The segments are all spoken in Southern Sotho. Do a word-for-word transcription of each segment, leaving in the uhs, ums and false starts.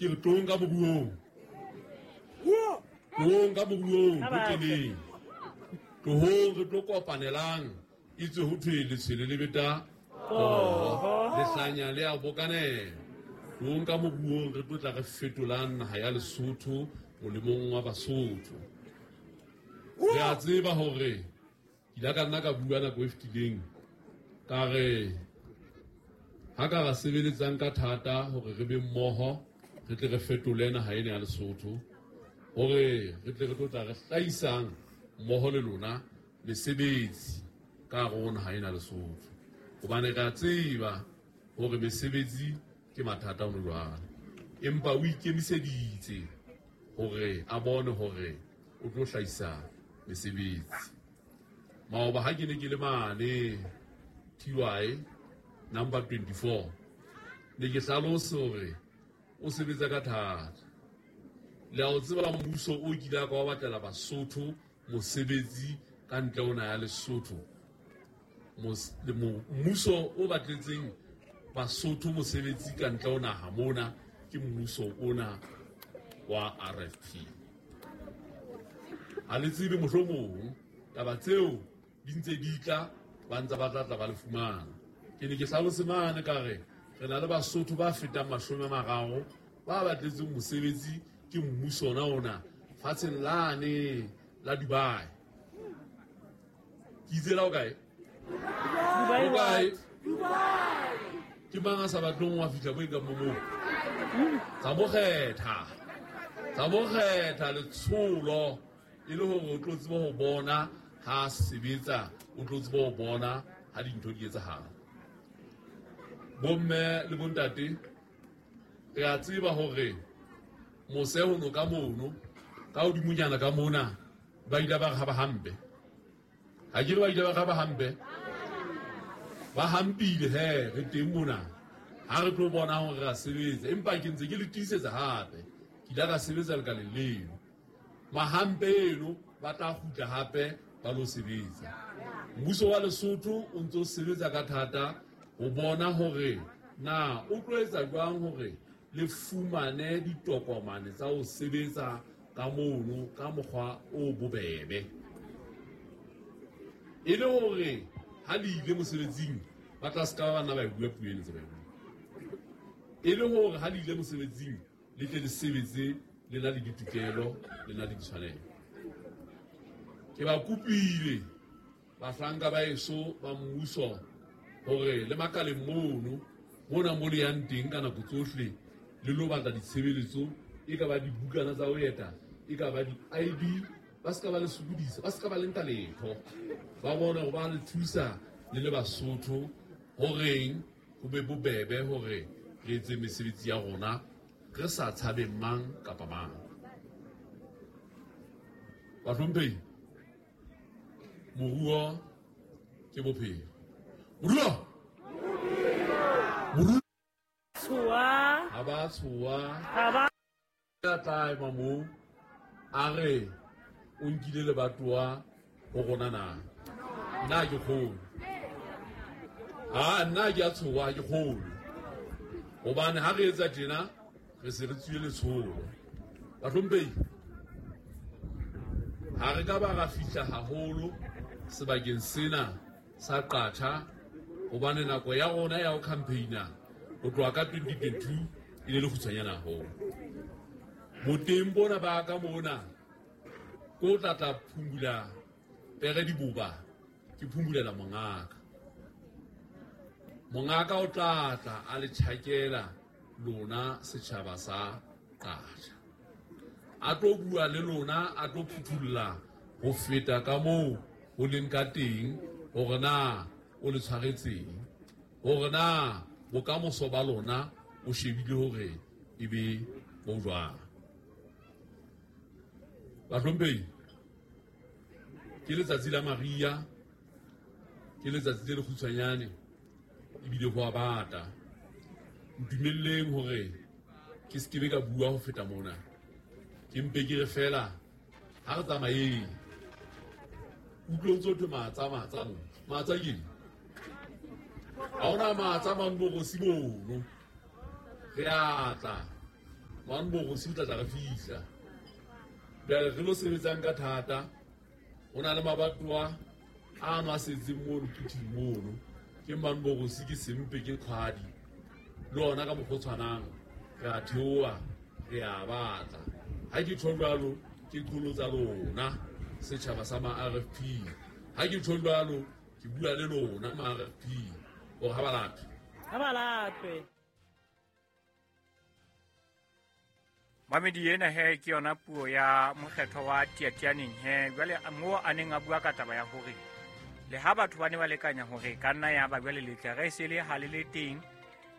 Ke re tloong ka moruong. Tloong ka moruong, re keneng. Tlohong re tlo kopanelang. Itse ho thwe letshwele le beta poho, lehlanya le a bokanela. Tloong ka moruong re tlo tla re fetolang naha ya Lesotho molemong wa Basotho. Re a tseba hore ke ile ka nna ka bua nako e fetileng ka re ha ka ra sebeletsang ka thata hore re be mmoho, re tle re fetole naha ena ya Lesotho, hore re tle re tlo tla re hlahisang mmoho le lona mesebetsi ka hare ho naha ena ya Lesotho. Hobane re a tseba hore mesebetsi ke mathata hona jwale, empa o ikemiseditse hore a bone hore o tlo hlahisa mesebetsi. Maoba ha ke ne ke le mane T Y number twenty-four, ne ke hlalose hore o sebetsa ka thata. Le a o tseba mmuso o kile a ka wa batlela Basotho mosebetsi ka ntle ho naha ya Lesotho. Mmuso o batletseng Basotho mosebetsi ka ntle ho naha mona ke mmuso ona wa R F P. Ha le tsebe mohlomong taba tseo di ntse di tla, ba ntse ba tla tla ba le fumana. Ke ne ke hlalose mane ka re re na le Basotho ba fetang mashome a mararo ba batletseng mosebetsi ke mmuso ona ona fatsheng lane la Dubai. Ke itse la o kae? Dubai. O kae? Dubai. Ke mang a sa batleng wa fihla mo e kang mo moo? Tsa mo kgetha. Tsa mo kgetha letsholo e le hore o tlo tseba ho bona ha sebetsa, o tlo tseba ho bona ha dintho di etsahala. Bomme le bontate, re a tseba hore mose ho no ka mono, ka hodimonyana ka mona, ba ile ba re ha ba hampe. Ha ke re ba ile ba re ha ba hampe? Ba hampile he, re teng mona. Ha re tlo bona hore re a sebetsa, empa ke ntse ke le tiisetsa hape. Ke ile ka sebetsa lekaleng leno. Mahampe eno ba tla kgutla hape ba lo sebetsa. Mmuso wa Lesotho o ntso sebetsa ka thata ho bona hore na o tlo etsa jwang hore le fumane ditokomane tsa ho sebetsa ka mono ka mokgwa o bobebe. E le hore ha le ile mosebetsing ba tla ska ba nna ba e bua puo ena tse ba e buang. E le hore ha le ile mosebetsing le tle le sebetse le na le ditokelo, le na le ditshwanelo. Ke ba kopile bahlanka ba eso ba mmuso hore le makaleng mono, mona mo le yang teng ka nako tsohle, le lo batla ditshebeletso, e ka ba dibukana tsa ho eta, e ka ba di-I D, ba ska ba le sokodisa, ba ska ba le nka letho. Ba bone hore ba le thusa le le Basotho horeng ho be bobebe hore re etse mesebetsi ya rona re sa tshabe mang kapa mang. Bahlomphehi, moruo ke bophelo. Moruo! Moruo! Tshoha. Ha ba tshoha. Ha ba Ya tla ema moo, a re o nkile lebatowa ho rona na? Nna ke kgolo. Ha, nna ke a tshoha, ke kgolo. Hobane ha re etsa tjena, re se re tswile letsholo. Bahlomphehi, ha re ka ba ra fihla haholo sebakeng sena sa Qacha, hobane nako ya rona ya ho campaigna ho tloha ka twenty twenty-two e ne le kgutshwanyane haholo. Boteng bona ba ka mona, ko tla tla phumula pere diboba, ke phumulela mongaka. Mongaka o tla tla a le tjhakela lona setjhaba sa Qacha. A tlo bua le lona, a tlo phuthulla ho feta ka moo ho leng ka teng, hore na o le tshwaretseng, hore na bokamoso ba lona o shebile hore e be bo jwang. Bahlomphehi, ke letsatsi la Maria, ke letsatsi le lekgutshwanyane, ebile ho a bata. Ntumelleng hore ke se ke be ka bua ho feta mona. Ke mpe ke re fela ha re tsamayeng. Utlwe ntse ho thwe matsa, matsa mo. Matsa ke eng? Ha hona matsa mang borosi mono. Re a tla. Manborosi o tla tla re fihla. Jwale re lo sebetsang ka thata, ho na le mabatowa ano a setseng mono phuthing mono. Ke Manborosi, ke Sempe, ke Kgwadi. Le ona ka mokgwa o tshwanang, re a theoha, re a batla. Ha ke tjho jwalo, ke qholotsa lona setjhaba sa ma R F P. Ha ke tjho jwalo, ke bua le lona ma R F P hore ha ba latwe. Ha ba latwe. Mamedi ena he ke yona puo ya mokgetho wa Tiatianeng he. Jwale moo a neng a bua ka taba ya hore le ha batho ba ne ba lekanya hore ka nna ya ba jwale letle re se le ha le le teng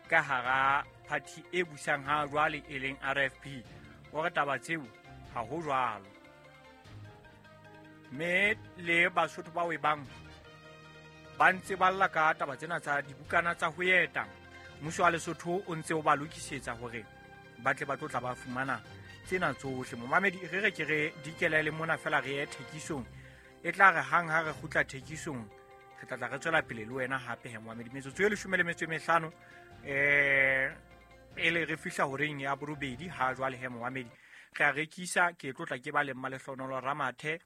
ka hara party e busang ha jwale e leng R F P, hore taba tseo ha ho jwalo. Mme le Basotho ba o e bang ba ntse ba lla ka taba tsena tsa dibukana tsa ho eta. Mmuso wa Lesotho o ntse o ba lokisetsa hore ba tle ba tlo tla ba fumana tsena tsohle. Momamedi re re ke re dikele le mona fela re ye thekisong, e tla re hang ha re kgutla thekisong re tla tla re tswela pele le wena hape he momamedi. Metsotso e leshome le metso e mehlano eh pele re fihla horeng ya borobedi ha jwale he momamedi re a rekisa. Ke tlo tla ke ba le Mmalehlohonolo Ramathe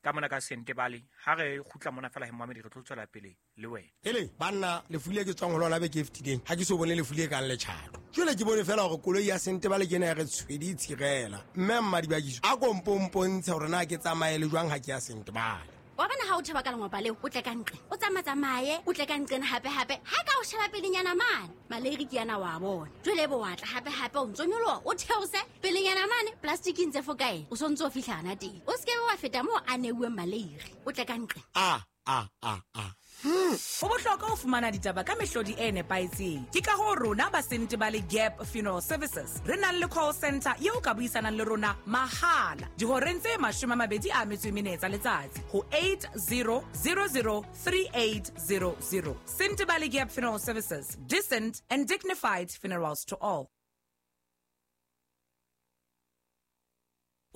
ka mona ka Sentebale. Ha re kgutla mona fela he momamedi re tlo tswela pele le wena. Ele banna lefu le ke tswang ho lona beke e fetileng, ha ke so bone lefu le kang letjhato. Jwale ke bone fela hore koloi ya Sentebale ke ena ya re tshwedi tshirela. Mme Mmadibakiso a kompompontshe hore na ke tsamaye le jwang ha ke ya Sentebale. Wa bona ha o thaba ka lengwapa leo, o tle ka nqe, o tsamatsamaye, o tle ka nqena hape hape. Ha ka o sheba pelenyana mane, maleiri ke yana wa bona. Jwale bo wa tla hape hape o ntso nyoloha, o theose pelenyana mane, plastic ntse fokae, o sontso o fihla hana teng. O se ke wa feta moo a neuweng maleiri, o tle ka nqe. A a a a. Ho bohlokwa ho fumana ditaba ka mehlodi e nepahetseng. Ke ka hoo rona ba Sentebale Gap Funeral Services re nang le call center eo ka buisanang le rona mahala dihoreng tse mashome a mabedi a metso e mene tsa letsatsi ho eight zero zero zero three eight zero zero. Sentebale Gap Funeral Services, decent and dignified funerals to all.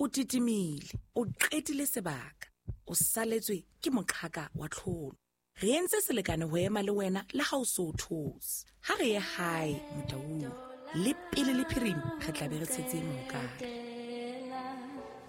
O titimile, o qetile sebaka, o saletswe ke moqhaka wa tlholo. Re entse selekane ho ema le wena le ha o so those. Ha re ye hae Motaung, le pele le phirimi re tla be re tshetse mohokare.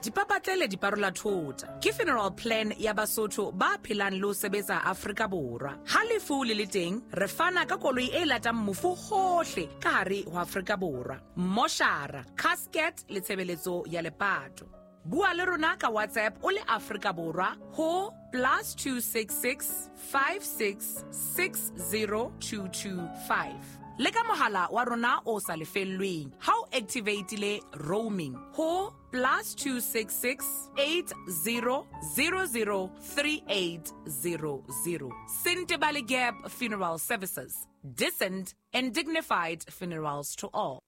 Dipapatlele di parola thota ke funeral plan ya Basotho ba phelang le ho sebetsa Afrika Borwa. Ha lefu le le teng, re fana ka koloi e latang mofu hohle ka hare ho Afrika Borwa. Moshara, casket le tshebeletso ya lepato. Bua le rona ka WhatsApp o le Afrika Borwa ho plus two six six five six six zero two two five. Le ka mohala wa rona o sa lefellweng ha o activate-ile roaming ho plus two six six eight zero zero zero three eight zero zero. Sentebale Gap Funeral Services, decent and dignified funerals to all.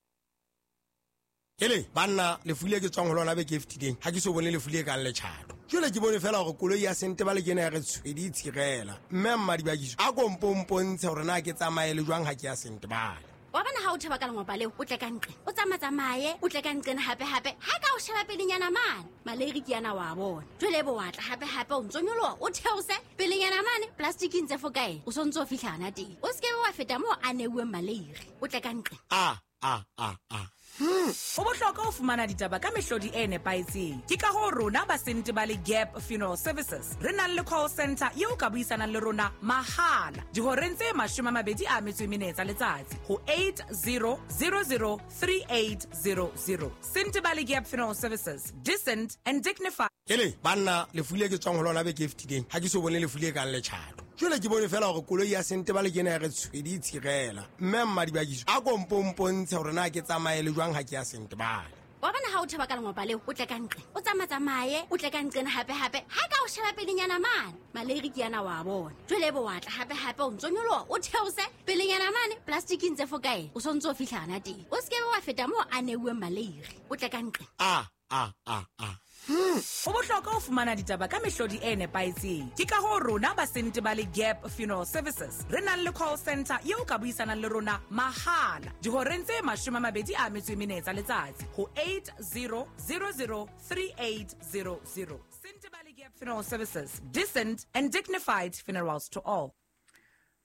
Ele banna lefu le ke tswang ho lona beke e fetileng, ha ke so bone lefu le kang letjhato. Jwale ke bone fela hore koloi ya Sentebale ke ena ya re tshwedi tshirela. Mme Mmadibakiso a kompompontshe hore na ke tsamaye le jwang ha ke ya Sentebale. Wa bona ha o thaba ka lengwapa leo, o tle ka nqe, o tsamatsamaye, o tle ka nqena hape hape. Ha ka o sheba pelenyana mane, maleiri ke yana wa bona. Jwale bo wa tla hape hape o ntso nyoloha, o theose pelenyana mane, plastic ntse fokae, o sontso o fihla hana teng. O se ke wa feta moo a neuweng maleiri, o tle ka nqe. A a a a. Ho bohlokwa ho fumana ditaba ka mehlodi e nepahetseng. Ke ka hoo rona ba Sentebale Gap Funeral Services re nang le call center eo ka buisanang le rona mahala dihoreng tse mashome a mabedi a metso e mene tsa letsatsi ho eight zero zero zero three eight zero zero. Sentebale Gap Funeral Services, decent and dignified. Ele banna lefu le ke tswang ho lona beke e fetileng, ha ke so bone lefu le kang letjhato. Jwale ke bone fela hore koloi ya Sentebale ke ena ya re tshwedi tshirela. Mme Mmadibakiso a kompompontshe hore na ke tsamaye le jwang ha ke ya Sentebale. Wa bona ha o thaba ka lengwapa leo, o tle ka nqe, o tsamatsamaye, o tle ka nqena hape hape. Ha ka o sheba pelenyana mane, maleiri ke yana wa bona. Jwale bo wa tla hape hape o ntso nyoloha, o theose pelenyana mane, plastic ntse fokae, o sontso o fihla hana teng. O se ke wa feta moo a neuweng maleiri, o tle ka nqe. A a a a. Ho bohlokwa ho fumana ditaba ka mehlodi e nepahetseng. Ke ka hoo rona ba Sentebale Gap Funeral Services re nang le call center eo ka buisanang le rona mahala dihoreng tse mashome a mabedi a metso e mene tsa letsatsi ho eight zero zero zero three eight zero zero. Sentebale Gap Funeral Services, decent and dignified funerals to all.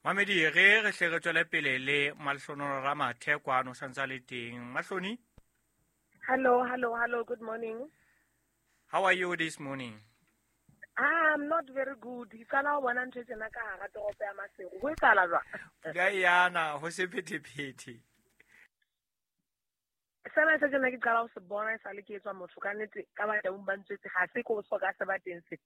Mamedi re re hle re tswele pele le Malehlohonolo Ramathe kwano santsa le teng. Mahloni? Ha Hello, hello, hello. Good morning. How are you this morning? I'm not very good. Ke qala ho bona ntho tsena ka hara toropo ya Maseru. Ho etsahala jwang? Pula e yana ho se phethephethe. Sena se tsena ke qala ho se bona e sale ke etswa motho ka nnete ka ba teng ba ntswetse ha se ko so ka se ba teng se.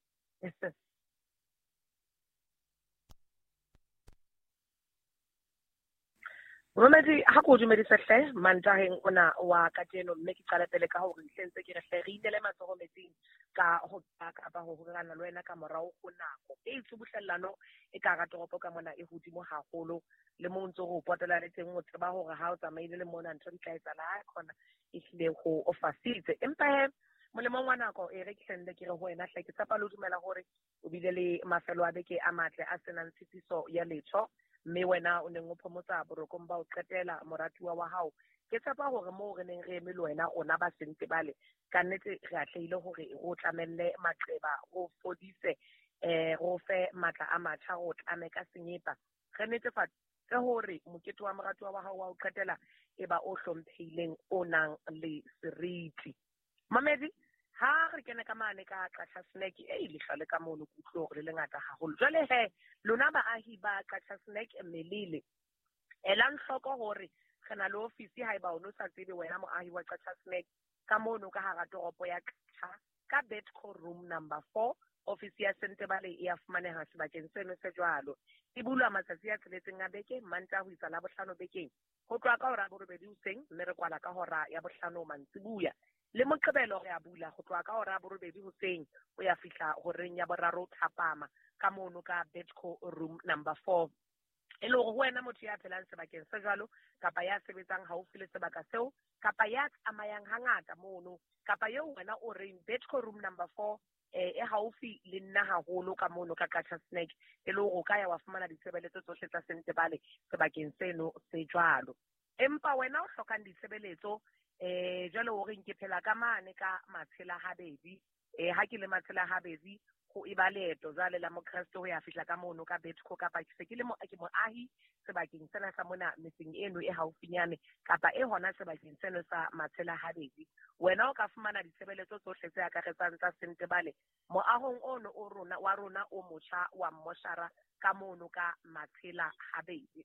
Momedi ha ko dumedisa hle mantaheng ona wa kajeno mme ke qala pele ka hore ntle ntse ke re hle re inele matsoho metsing ka ho kapa ho horana le wena ka morao ho nako e tsubuhlellano e ka hara toropo ka mona e hodimo haholo le mo ntse ho potela le teng o tseba hore ha o tsamaile le mona ntho di tla etsahala ha khona e hlile ho o fasitse empa he molemong wa nako e re ke hlende ke re ho wena hle ke tshepa le dumela hore o bile le mafelo a beke a matle a senang tshitiso ya letho mme wena o neng o phomotsa borokong ba o qetela moratuwa wa hao ke tshepa hore moo re neng re eme le wena rona ba Sentebale ka nnete re atlehile hore re o tlamelle maqeba re fodise eh re fe matla a matjha re o tlame ka senyepa re netefatse hore mokete wa moratuwa wa hao wa o qetela e ba o hlomphehileng o nang le seriti. Mamedi ha re kene ka mane ka Qacha Snack e lehlwa le ka mono ke utlwe hore le lengata haholo jwale he lona baahi ba Qacha Snack melele elang hloko hore re na le ofisi haeba o no sa tsebe wena moahi wa Qacha Snack ka mono ka hara toropo ya Qacha ka Betco room number four ofisi ya Sentebale e a fumaneha sebakeng seno se jwalo e bulwa matsatsi a tsheletseng a beke Mantaha ho isa Labohlano bekeng ho tloha ka hora ya borobedi hoseng mme re kwala ka hora ya bohlano mantsibuya le Moqebelo re a bula ho tloha ka hora ya borobedi hoseng ho ya fihla horeng ya boraro thapama ka mono ka Betco room number four e le hore ho wena motho ya phelang sebakeng se jwalo kapa ya sebetsang haufi le sebaka seo kapa ya tsamayang hangata mono kapa eo wena o reng Betco room number four eh e haufi le nna haholo ka mono ka Qacha Snack e le hore o ka ya wa fumana ditshebeletso tsohle tsa Sentebale sebakeng seno se jwalo empa wena o hlokang ditshebeletso eh jwale o reng ke phela ka mane ka Matshela Habedi eh ha ke le Matshela Habedi ho e ba leeto jwale la Mokreste ho ya fihla ka mono ka Betco kapa ke se ke le mo ke moahi sebakeng sena sa mona metseng eno e haufinyane kapa e hona sebakeng seno sa Matshela Habedi wena o ka fumana ditshebeletso tsohle tse akaretsang tsa Sentebale moahong ono o rona wa rona o motjha wa mmoshara ka mono ka Matshela Habedi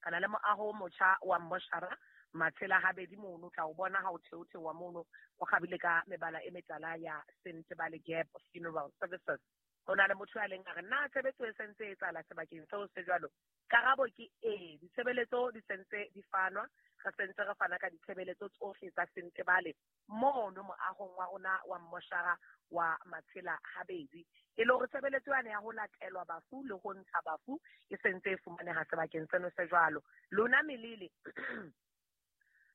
kana le moaho o motjha wa mmoshara Matshela Habedi mono tla o bona ha o theothewa mono o kgabile ka mebala e metala ya Sentebale Gap Funeral Services ho na le motho ya leng a re na tshebetso e sentse e etsahala sebakeng seo se jwalo karabo ke ee ditshebeletso di sentse di fanwa re sentse re fana ka ditshebeletso tsohle tsa Sentebale mono moahong wa rona wa mmoshara wa Matshela Habedi e le hore tshebeletso yane ya ho latelwa bafu le ho ntsha bafu e sentse e fumaneha sebakeng seno se jwalo lona melele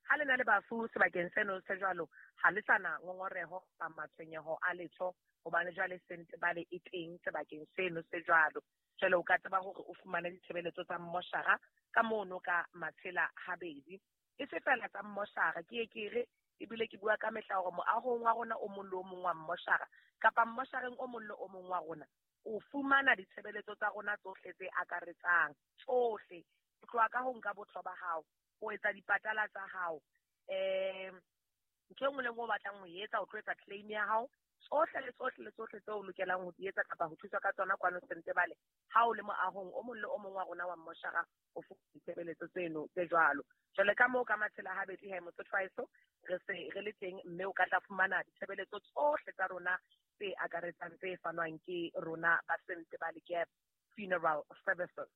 ha le na le bafu sebakeng seno se jwalo ha le sana ngongoreho kapa matshwenyeho a letho hobane jwale Sentebale e teng sebakeng seno se jwalo jwale o ka tseba hore o fumane ditshebeletso tsa mmoshara ka mono ka Matshela Habedi e se fela tsa mmoshara ke ye ke re ebile ke bua ka mehla hore moahong wa rona o mong le o mong wa mmoshara kapa mmoshareng o mong le o mong wa rona o fumana ditshebeletso tsa rona tsohle tse akaretsang tsohle ho tloha ka ho nka botho ba hao ho etsa dipatala tsa hao eh ntho e nngwe le nngwe o batlang ho e etsa o tlo etsa claim ya hao tsohle le tsohle le tsohle tseo o lokelang ho di etsa kapa ho thuswa ka tsona kwano Sentebale ha o le moahong o mong le o mong wa rona wa mmoshara o fumana ditshebeletso tseno tse jwalo jwale ka moo ka Matshela Habedi he motho twice re se re le teng mme o ka tla fumana ditshebeletso tsohle tsa rona tse akaretsang tse fanwang ke rona ba Sentebale Gap Funeral Services.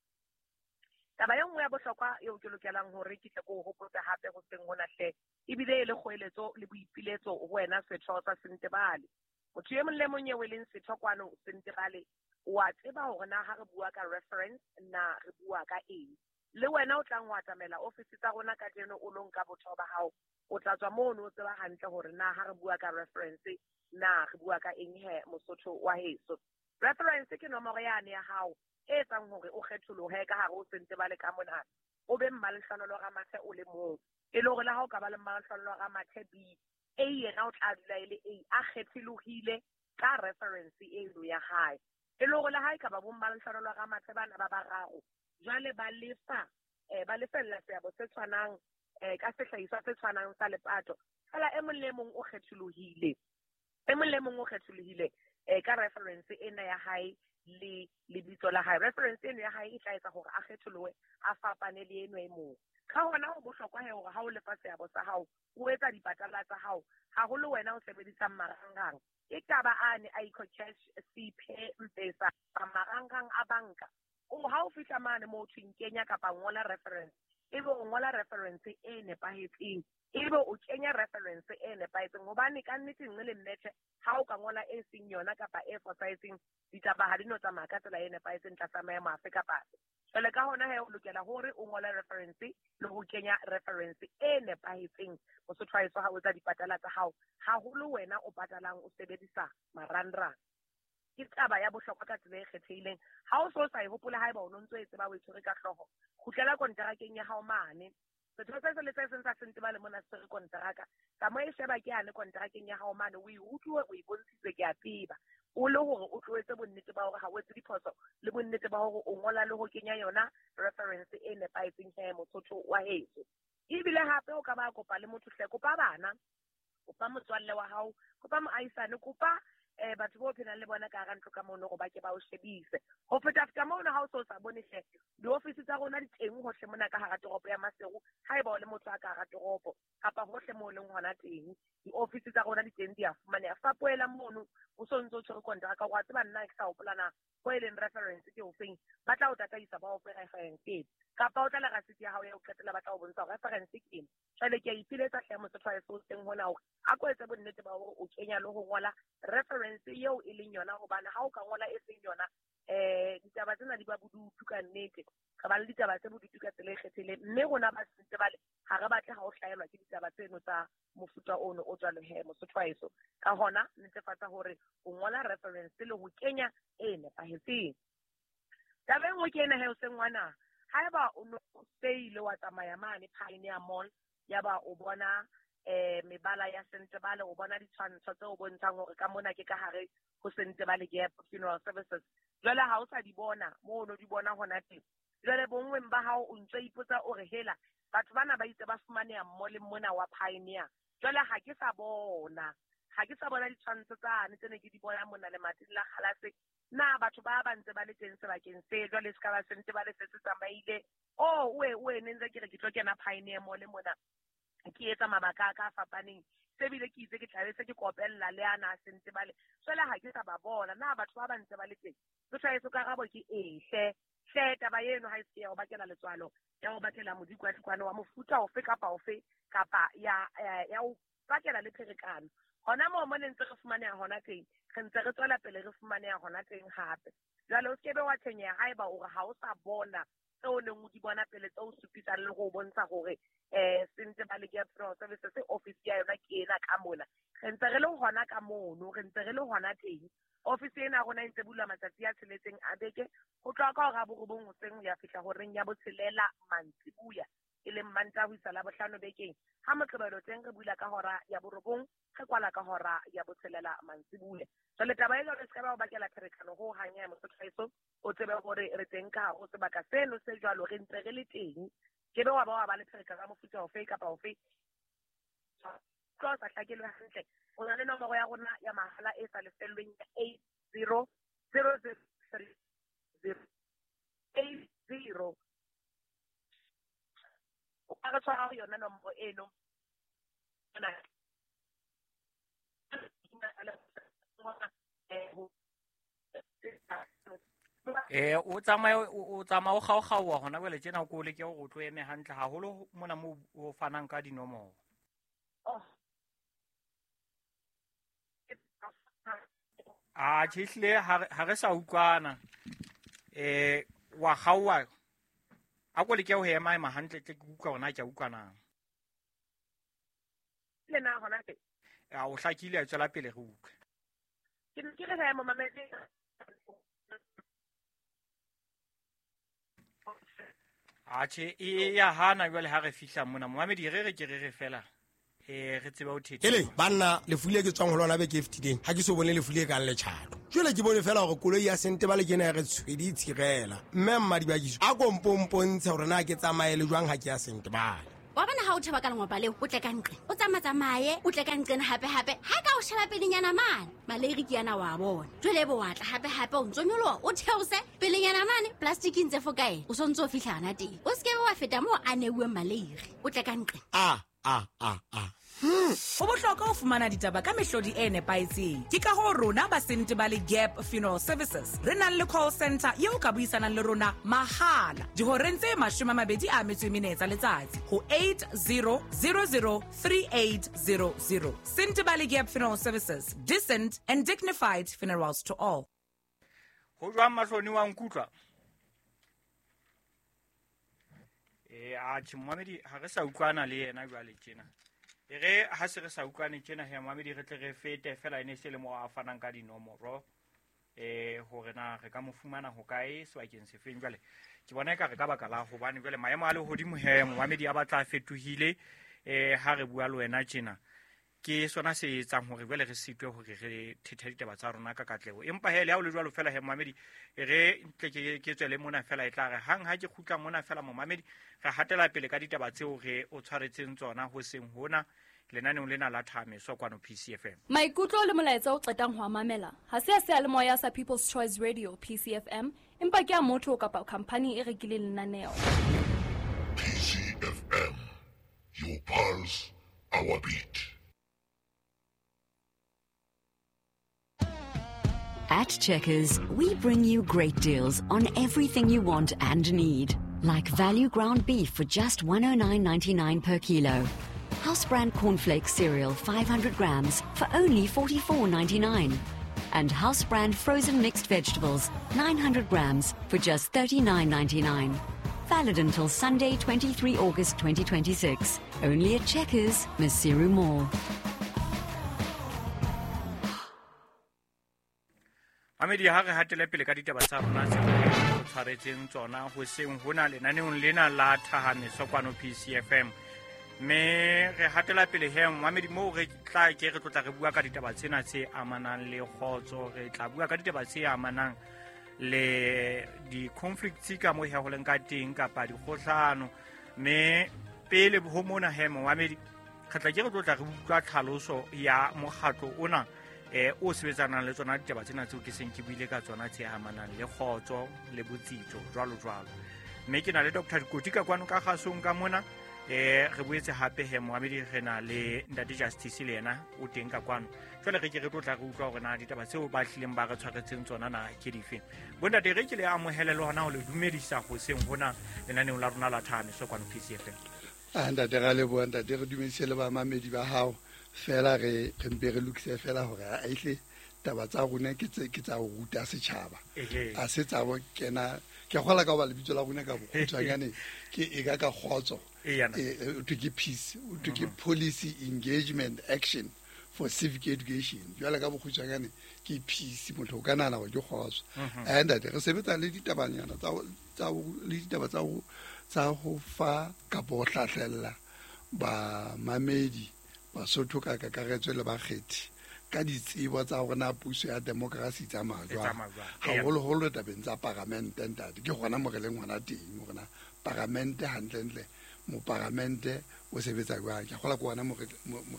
Taba e nngwe ya bohlokwa eo ke lokelang hore ke tle ke o hopotse hape hoseng hona hle ebile e le kgoeletso le boipiletso ho wena setho sa Sentebale motho e mong le mong eo e leng setho kwano Sentebale o a tseba hore na ha re bua ka reference na re bua ka eng le wena o tlang ho atamela ofisi tsa rona kajeno o lo nka botho ba hao o tla tswa mono o tseba hantle hore na ha re bua ka reference na re bua ka eng he mosotho wa heso reference ke nomoro yane ya hao e etsang hore o kgetholohe ka hare ho Sentebale ka mona o be Mmalehlohonolo Ramathe o le mong e le hore le ha o ka ba le Mmalehlohonolo Ramathe B A yena o tla dula e le A a kgetholohile ka reference eno ya hae e le hore le ha e ka ba bo Mmalehlohonolo Ramathe bana ba bararo jwale ba lefa eh ba lefella seabo se tshwanang eh ka sehlahiswa se tshwanang sa lepato Fela e mong le mong o kgetholohile. E mong le mong o kgetholohile eh ka reference ena ya hae le lebitso la hae. Reference eno ya hae e tla etsa hore a kgetholohe, a fapane le eno e mong. Ka hona ho bohlokwa he hore ha o lefa seabo sa hao, o etsa dipatala tsa hao, haholo wena o sebedisang marangrang. E ka ba ane a EcoCash, C P, M-Pesa, marangrang a banka. O ha o fihla mane moo thweng kenya kapa ngola reference, ebe o ngola reference e nepahetseng, ebe o kenya reference e nepahetseng, hobane ka nnete nngwe le mmethe ha o ka ngola e seng yona kapa e fosahetseng, ditaba ha di no tsamaya ka tsela e nepahetseng tlasa maemo afe kapa afe. Jwale ka hona he o lokela hore o ngole reference le ho kenya reference e nepahetseng Mosotho wa heso ha o etsa dipatala tsa hao, haholo wena o patalang o sebedisa marangrang. Ke taba ya bohlokwa ka tsela e kgethehileng. Ha o so sa e hopola, haeba o no ntso e tseba o e tshwere ka hlooho, kgutlela konterakeng ya hao mane. Setho se seng le se seng sa Sentebale mona se tshwere konteraka. Tsamaya e sheba ke yane konterakeng ya hao mane, o e utlwe, o e bontshitswe ke a tseba. O le hore o tlo etse bonnete ba hore ha o etse diphoso, le bonnete ba hore o ngola le ho kenya yona reference e nepahetseng he Mosotho wa heso. Ebile hape o ka ba kopa le motho hle, kopa bana, kopa motswalle wa hao, kopa moahisane, kopa eh batho bo phelang le bona ka hara ntlo ka mono hore ba ke ba o shebise. Ho feta feta mono ha o so sa bone hle, diofisi tsa rona di teng hohle mona ka hara toropo ya Maseru, haeba o le motho a ka hara toropo kapa hohle moo o leng hona teng, diofisi tsa rona di teng di a fumaneha. Fapohela mono o so ntso o tshwere kontraka, wa tseba nna ke sa hopola na ho e leng reference ke ofeng, ba tla o tataisa ba o fe reference eno. Kapa o tla le rasiti ya hao ya ho qetela, ba tla o bontsha hore reference ke ena. Jwale ke a ipiletsa hle Mosotho wa heso teng hona hore a ko etse bonnete ba hore o kenya le ho ngola reference eo e leng yona, hobane ha o ka ngola e seng yona, eh ditaba tsena di ba bodutu ka nnete. Re ba le ditaba tse bodutu ka tsela e kgethehileng, mme rona ba Sentebale ha re batle ha o hlahelwa ke ditaba tseno tsa mofuta ono o jwalo he Mosotho wa heso. Ka hona netefatsa hore o ngola reference le ho kenya e nepahetseng. Taba e nngwe ke ena he o seng ngwana, haeba o no se ile wa tsamaya mane Pioneer Mall, yaba o bona eh mebala ya Sentebale, o bona ditshwantsho tse o bontshang hore ka mona ke ka hare ho Sentebale Gap Funeral Services. Jwale ha o sa di bona moo o no di bona hona teng, jwale bonngweng ba hao o ntso ipotsa o re hela batho bana ba itse ba fumaneha mall-eng mona wa Pioneer, jwale ha ke sa bona, ha ke sa bona ditshwantsho tsane tse ne ke di bona mona lemating la kgalase. Na batho ba ba ntse ba le teng sebakeng se jwale se ka ba Sentebale se se tsamaile? Oh, oe oe ne ntse ke re ke tlo kena Pioneer Mall mona ke etsa mabaka a ka a fapaneng, se bile ke itse ke tlabe se ke kopella le ana a Sentebale, jwale ha ke sa ba bona. Na batho ba ba ntse ba le teng? Motho wa heso, karabo ke ee hle. Hle taba eno ha e se ya ho bakela letswalo, ya ho bakela modikwadikwane wa mofuta ofe kapa ofe, kapa ya ya ho bakela le pherekano. Hona moo mo ne ntse re fumaneha hona teng, re ntse re tswela pele re fumaneha hona teng hape. Jwale o skebe wa tshwenyeha haeba o re ha o sa bona tseo o neng o di bona pele, tse o supisang le ho bontsha hore eh Sentebale Gap Funeral Services office ya yona ke ena ka mona. Re ntse re le hona ka mono, re ntse re le hona teng. Office ena ya rona e ntse bulwa matsatsi a tsheletseng a beke, ho tloha ka hora ya borobong hoseng ho ya fihla horeng ya botshelela mantsibuya, e leng Mantaha ho isa Labohlano bekeng. Ha Moqebelo teng re bula ka hora ya borobong, re kwala ka hora ya botshelela mantsibuya. Jwale taba e jwalo e se ka ba o bakela pherekano ho hang ya Mosotho wa heso, o tsebe hore re teng ka hare ho sebaka seno se jwalo, re ntse re le teng. Ke be wa ba wa ba le pherekano ya mofuta ofe kapa ofe, tlo sa hlakelwe hantle. O na le nomoro ya rona ya mahala e sa lefellweng ya eight zero zero zero three zero eight zero. O ka re tshwara ho yona nomoro eno. Eh o tsamaya o tsamaya o kgaokgaoha hona jwale tjena, o ko leke hore o tlo eme hantle haholo mona moo o fanang ka dinomoro. Oh. A tjhe, ehlile ha re sa utlwana. Eh wa kgaoha, a ko leke ho ema ema hantle tle ke utlwa hore na ke a utlwa na. Le na hona teng. A o hlakile, a tswela pele re utlwe. Ke ne ke re he momamedi. Atjhe, e ya hana jwale ha re fihla mona. Momamedi re re ke re re fela. Eh re tseba ho thetha. Ele banna, lefu le ke tswang ho lona beke e fetileng, ha ke so bone lefu le kang letjhato. Jwale ke bone fela hore koloi ya Sentebale ke ena ya re tshwedi e tshirela. Mme mmadibakiso a ko mpompontshe hore na ke tsamaye le jwang ha ke ya Sentebale. Wa bona ha o thaba ka lengopa leo, o tle ka nqe. O tsamatsamaye, o tle ka nqena hape-hape. Ha ka o sheba pelenyana mane, maleiri ke yana wa bona. Jwale ebe wa tla hape-hape o ntso nyoloha, o theose pelenyana mane, plastic e ntse fo kae. O sontso o fihla hana teng. O se ke be wa feta moo a neuweng maleiri. O tle ka nqe. A a a a. Ho bohlokwa ho fumana ditaba ka mehlodi e nepahetseng. Ke ka hoo rona ba Sentebale Gap Funeral Services re nang le call center eo ka buisanang le rona mahala dihoreng tse mashome a mabedi a metso e mene tsa letsatsi ho eight zero zero zero three eight zero zero. Sentebale Gap Funeral Services, decent and dignified funerals to all. Ho jwang mahloni wa nkutlwa? Eh a tjhe momamedi ha re sa utlwana le yena jwale tjena. E re ha se re sa utlwane tjena he momamedi re tle re fete fela ene se le mo a fanang ka dinomoro eh hore na re ka mo fumana ho kae sebakeng se feng. Jwale ke bona eka re ka baka la hobane jwale maemo a lehodimo he momamedi a batla a fetohile eh ha re bua le wena tjena ke sona se etsang hore jwale re sitwe hore re thethe ditaba tsa rona ka katleho. Empa he le ha o le jwalo fela he momamedi e re ntle ke ke tswele mona fela e tla re hang ha ke kgutla mona fela momamedi re hatela pele ka ditaba tseo re o tshwaretseng tsona ho seng hona lenaneong lena la Thameso kwano P C F M. Maikutlo le molaetsa o qetang ho a mamela ha se a seyalemoya sa People's Choice Radio P C F M, empa ke a motho kapa khampani e rekileng lenaneo. P C F M, your pulse, our beat. At Checkers, we bring you great deals on everything you want and need. Like value ground beef for just one oh nine ninety-nine per kilo. House brand cornflakes cereal five hundred grams for only forty-four ninety-nine. And house brand frozen mixed vegetables nine hundred grams for just thirty-nine ninety-nine. Valid until Sunday, twenty-three August twenty twenty-six. Only at Checkers, Maseru Mall. Mamedi ha re hatele pele ka ditaba tsa rona tse re tshwaretseng tsona ho seng hona lenaneong lena la Thahameso kwano P C F M. Mme re hatela pele he mamedi moo re tla ke re tlotla re bua ka ditaba tsena tse amanang le kgotso, re tla bua ka ditaba tse amanang le di-conflicts ka mo he ho leng ka teng kapa dikgohlano. Mme pele ho mona he mamedi re tla ke re tlotla re utlwa tlhaloso ya mokgatlo ona eh o sebetsanang le tsona ditaba tsena tseo ke seng ke buile ka tsona tse amanang le kgotso le botsitso jwalo jwalo. Mme ke na le Doctor Dikoti ka kwano ka kgasong ka mona eh re boetse hape he moamedi re na le Ntate Justice le yena o teng ka kwano. Jwale re ke re tlotla re utlwa hore na ditaba tseo ba hlileng ba re tshwaretseng tsona na ke dife. Bontate re ke le amohele le hona ho le dumedisa hoseng hona lenaneong la rona la Thameso kwano P C F M. Ah ntate ra leboha ntate, re dumedise le bamamedi ba hao. Fela re re mpe re lokise fela hore a ihle taba tsa rona ke tse ke tsa ho ruta setjhaba. A se tsa bo kena ke kgola ka ba lebitso la rona ka bokgutshwanyane ke e ka ka kgotso. E to ke peace, to ke policy engagement action for civic education. Jwale ka bokgutshwanyane ke peace, motho o ka nahana hore ke kgotso. And re sebetsa le ditabanyana tsa tsa le ditaba tsa ho tsa ho fa kapo ho hlahlella ba mamedi Basotho ka kakaretso le bakgethi ka ditsebo tsa hore na puso ya democracy tsamaya jwang, haholoholo tabeng tsa paramente ntate. Ke gona mo re leng hona teng hore na paramente hantlentle moparamente o sebetsa jwang. Ke kgola ke hona mo re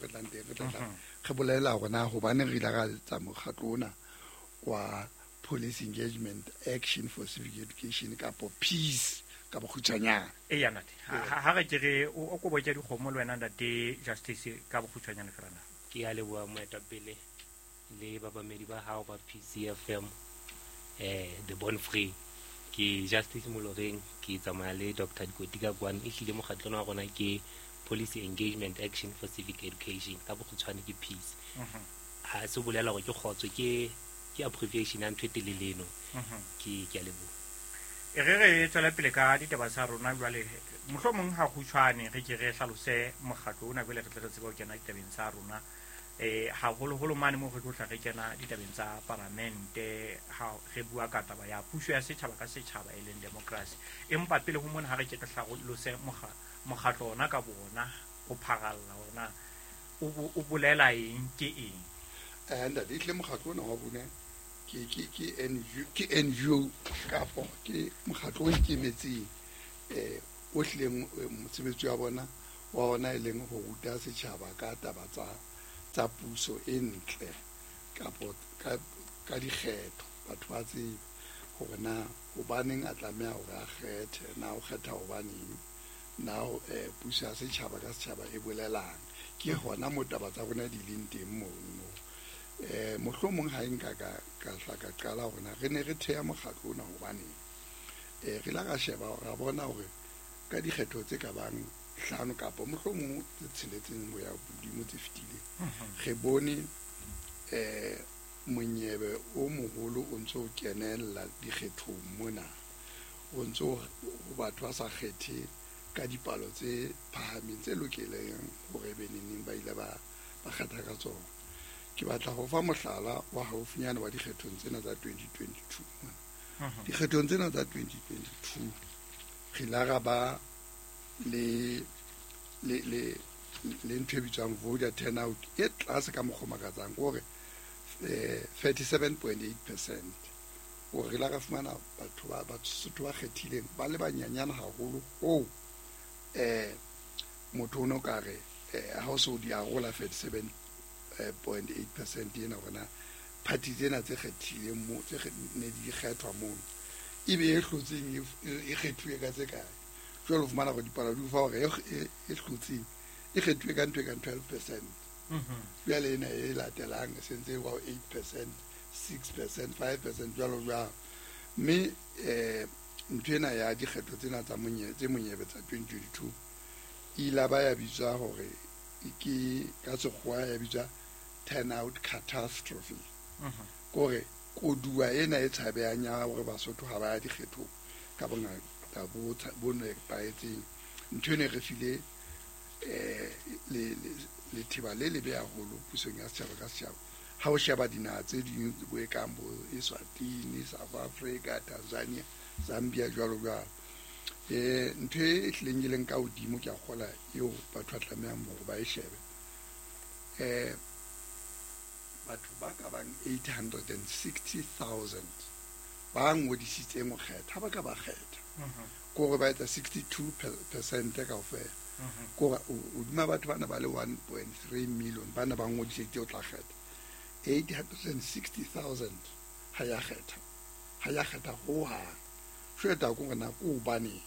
tlang teng, re tla tla re bolela hore na hobaneng re ile ra etsa mokgatlo ona wa Police Engagement Action for Civic Education kapo Peace ka bokgutshwanyane. Eya ntate, ha re ke re o kobo ke dikgomo le wena ntate Justice ka bokgutshwanyane fela na. Ke a leboha moetapele le babamedi ba hao ba P C F M eh the Born Free. Ke Justice Moloreng, ke tsamaya le Doctor Dikoti ka kwano. E hlile mokgatlong wa rona ke Policy Engagement Action for Civic Education, ka bokgutshwane ke Peace. Ha se bolela hore ke kgotso, ke ke abbreviation ya ntho e telele eno. Ke ke a leboha. E re re tswela pele ka ditaba tsa rona jwale, mohlomong ha kgutshwane re ke re hlalose mokgatlo ona jwale re tle re tsebe ho kena ditabeng tsa rona. Eh haholoholo mane mo re tlo tla re kena ditabeng tsa paramente ha re bua ka taba ya puso ya setjhaba ka setjhaba e leng democracy. Empa pele ho mona ha re ke re hlalose mokgatlo ona ka bona ho pharalla hore na o bolela eng ke eng. Eh ntate, ihle mokgatlo ona wa bone ke ke ke N G O ke N G O kapo ke mokgatlo o ikemetseng eh o hlileng mosebetsi wa bona wa ona e leng ho ruta setjhaba ka taba tsa tsa puso e ntle kapo ka ka dikgetho. Batho ba tsebe hore na hobaneng a tlameha hore a kgethe, na o kgetha hobaneng, na eh, puso ya setjhaba ka setjhaba e bolelang. Ke hona mo taba tsa rona di leng teng mono. Eh, mohlomong ha e nka ka ka hla ka qala hore na re ne re theha mokgatlo ona hobaneng. Eh, re la ra sheba ra bona hore ka dikgetho tse ka bang hlano kapa mohlomong tse tsheletseng ho ya hodimo tse fetileng, re bone eh monyebe o moholo o ntso o kenella dikgethong mona, o ntso o batho ba sa kgethe ka dipalo tse phahameng tse lokeleng hore be neneng ba ile ba ba kgetha ka tsona. Ke batla ho fa mohlala wa haufinyane wa dikgethong tsena tsa twenty twenty-two. Dikgethong tsena tsa twenty twenty-two re la ra ba le le le le ntho e bitswang voter turnout e tlase ka mokgwa o makatsang, hore eh thirty-seven point eight percent. Hore re la ra fumana batho ba Basotho ba kgethileng ba le banyanyana haholo hoo eh motho o no ka re ha o so di arola thirty-seven point eight percent ena hore na party tsena tse kgethileng mo tse ne di kgethwa mono ebe e hlotseng e kgethuwe ka tse kae. Jwale o fumana hore dipalo di o fa hore e hlotseng e kgethuwe ka ntho e kang twelve percent. Jwale ena e latelang e sentse e wa eight percent, six percent, five percent jwalo jwalo. Mme eh ntho ena ya dikgetho tsena tsa monyebe tse monyebe tsa twenty twenty-two e ile ba ya bitswa hore ke ka sekgowa ya bitswa turnout catastrophe. Kore koduwa ena e tshabehang ya hore Basotho ha ba ya dikgethong ka bongata bo bo nepahetseng. Ntho ena e re file eh le letheba le lebe haholo pusong ya setjhaba ka setjhaba. Ha o sheba dinaha tse ding bo e kang bo Eswatini, South Africa, Tanzania, Zambia jwalo jwalo. Eh ntho e hlileng e leng ka hodimo ke a kgola eo batho ba tlamehang hore ba e shebe. Eh batho ba ka bang eight hundred and sixty thousand ba ngodisitseng ho kgetha, ha ba ka ba kgetha. Kore ba etsa sixty-two percent kaofela. Kore hodima batho bana ba le one point three million bana ba ngodisitse ho tla kgetha. eight hundred and sixty thousand ha ya kgetha. Ha ya kgetha hohang. Jwale ko rena ko hobane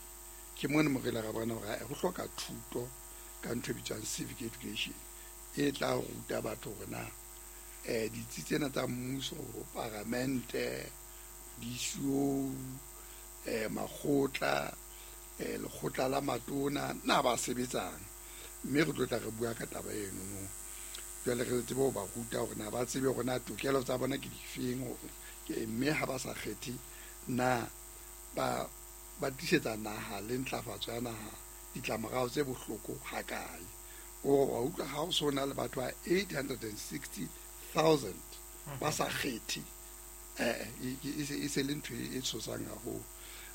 ke mona mo re la ra bona hore ho hloka thuto ka ntho e bitswang civic education e tla ruta batho hore na eh ditsi tsena tsa mmuso, paramente, disuo, eh makgotla, eh lekgotla la matona na ba sebetsang. Mme re tlo tla re bua ka taba eno no. Jwale re tsebe ho ba ruta hore na ba tsebe hore na tokelo tsa bona ke difeng, mme ha ba sa kgethe na ba ba tisetsa naha le ntlafatso ya naha ditlamorao tse bohloko hakae. O wa utlwa ha o so na le batho ba eight hundred and sixty thousand ba sa kgethe, eh e se le ntho e tshosang haholo.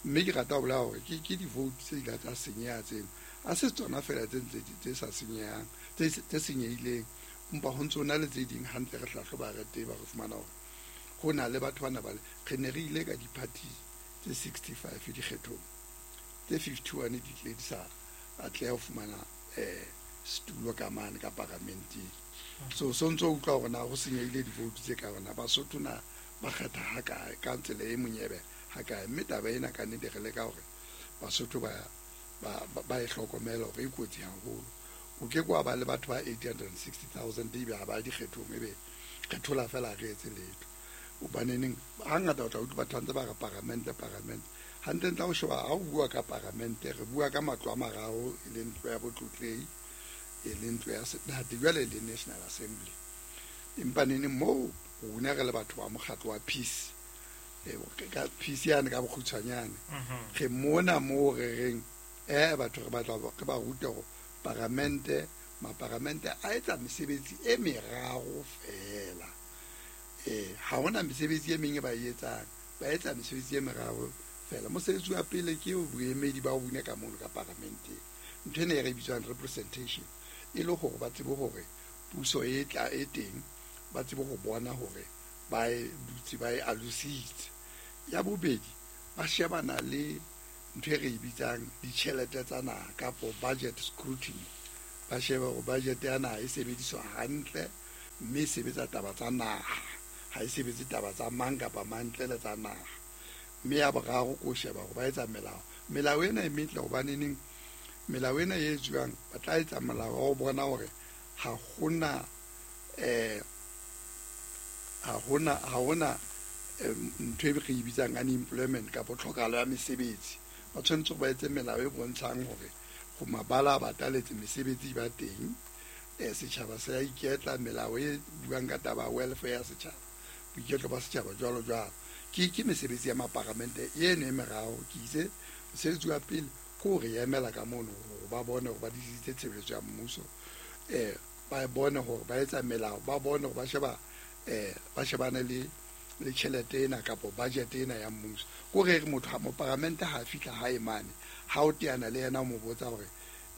Mme ke rata ho bolela hore ke ke di-vote tse ile tsa senyeha tseno, ha se tsona fela tse ntse tse sa senyehang tse tse senyehileng, empa ho ntso na le tse ding hantle re hlahloba re teba re fumana hore ho na le batho bana ba re ne re ile ka di-party tse sixty-five dikgethong, tse fifty-one di tle di sa atleha ho fumana eh setulo ka mane ka paramenteng. So so ntso utlwa hore na ho senyehile di-vote tse ka rona Basotho na ba kgetha hakae ka tsela e monyebe hakae. Mme taba ena ka nnete re leka hore Basotho ba ba ba e hlokomele hore e kotsi haholo. O ke kwa ba le batho ba eight hundred and sixty thousand ebe ha ba dikgethong ebe re thola fela re etse letho. Hobaneneng hangata o tla utlwa batho ba ntse ba re paramente paramente. Hantlentle ha o sheba ha o bua ka paramente re bua ka matlo a mararo e leng ntlo ya botlotlehi, e leng ntlo ya senate jwale le National Assembly. Empa neneng moo rona re le batho ba mokgatlo wa peace, eh ka peace yane ka bokgutshwanyane, re mona moo re reng eh batho re batla re ba rute hore paramente maparamente a etsa mesebetsi e meraro fela. Eh ha hona mesebetsi e meng e ba e etsang, ba etsa mesebetsi e meraro fela. Mosebetsi wa pele ke boemedi ba bone ka mono ka paramenteng, ntho ena e re bitswang representation, e le hore ba tsebe hore puso e tla e teng, ba tsebe ho bona hore ba e dutse ba e alositse. Ya bobedi ba shebana le ntho e re e bitsang ditjhelete tsa naha kapo budget scrutiny. Ba shebe hore budget ya naha e sebediswa hantle mme e sebetsa taba tsa naha, ha e sebetse taba tsa mang kapa mang ntle le tsa naha. Mme ya boraro ke ho sheba hore ba etsa melao. Melao ena e metle hobaneneng melao ena e etsuwang ba tla etsa molao wa ho bona hore ha hona eh ha hona ha hona ntho e re e bitsang unemployment kapa tlhokahalo ya mesebetsi. Ba tshwanetse ba etse melao e bontshang hore go mabala a bataletse mesebetsi ba teng, eh setjhaba se a iketla, melao e buang ka taba welfare ya setjhaba, boiketlo ba setjhaba jwalo jwalo. Ke ke mesebetsi ya maparamente eno e meraro. Ke itse mosebetsi wa pele ke ho re emela ka mono hore ba bone hore ba disitse tshebeletso ya mmuso, eh ba bone hore ba etsa melao, ba bone hore ba sheba eh ba shebane le le tjhelete ena kapa budget ena ya mmuso. Ko re motho ha moparamente ha fihla hae mane, ha o teana le yena o mo botsa hore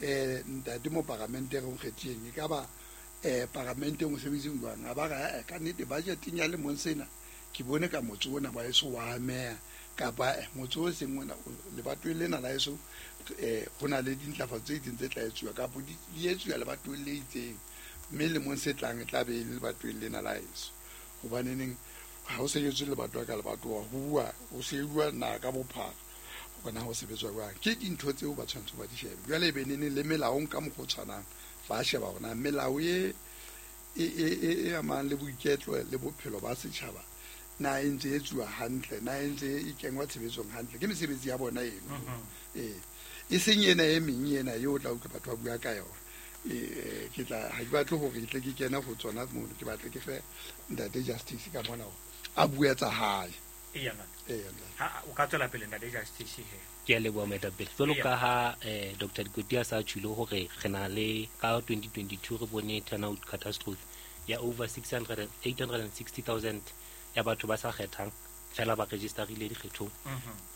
eh ntate moparamente re o kgethileng e ka ba eh paramenteng o sebetseng jwang, a ba re ka nnete budgeteng ya lemong sena ke bone ka motse ona wa eso wa ameha kapa motse o seng ona lebatoweng lena la eso eh ho na le dintlafatso tse itseng tse tla etsuwa kapa di etsuwa lebatoweng le itseng, mme lemong se tlang e tla be e le lebatoweng lena la eso. Hobaneneng ha o sebetswe lebatowa ka lebatowa, ho bua o sebua naha ka bophara hore na ho sebetswa jwang. Ke dintho tseo ba tshwanetse ba di shebe. Jwale e be neneng le melaong ka mokgwa o tshwanang, ba sheba hore na melao e e e e amang le boiketlo le bophelo ba setjhaba na e ntse e etsuwa hantle, na e ntse e kengwa tshebetsong hantle. Ke mesebetsi ya bona eno. Eh e seng ena e meng ena eo o tla utlwa batho ba bua ka yona. Eh ke tla ha ke batle hore ke tle ke kene ho tsona mono, ke batle ke fe ntate Justice ka mona hore a bue tsa hae. Eya Eya ntate. Ha o ka tswela pele ntate Justice he. Ke a leboha moetapele. Jwalo ka ha eh Doctor Dikoti a sa tjhilo hore re na le ka twenty twenty-two re bone turnout catastrophe ya over six hundred eight hundred sixty thousand ya batho ba sa kgethang fela ba registerile dikgethong.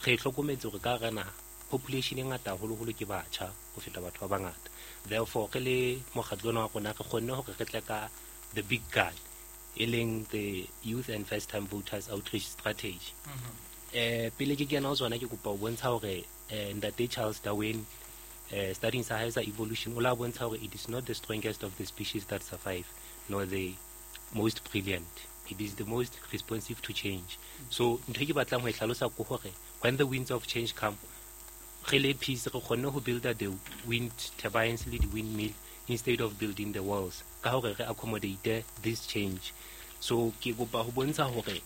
Re hlokometse hore ka hara naha population e ngata haholoholo ke batjha ho feta batho ba bangata. Therefore re le mokgatlo ona wa rona re kgonne hore re tle ka the big gun e leng the youth and first time voters outreach strategy. Eh pele ke kena ho tsona ke kopa ho bontsha hore eh ntate Charles Darwin eh studying sa hae sa evolution o la bontsha hore it is not the strongest of the species that survive nor the most brilliant, it is the most responsive to change. So ntho e ke batlang ho e hlalosa ke hore when the winds of change come, re le peace re kgonne ho build the wind turbines le di windmill instead of building the walls ka hore re accommodate this change. So ke kopa ho bontsha hore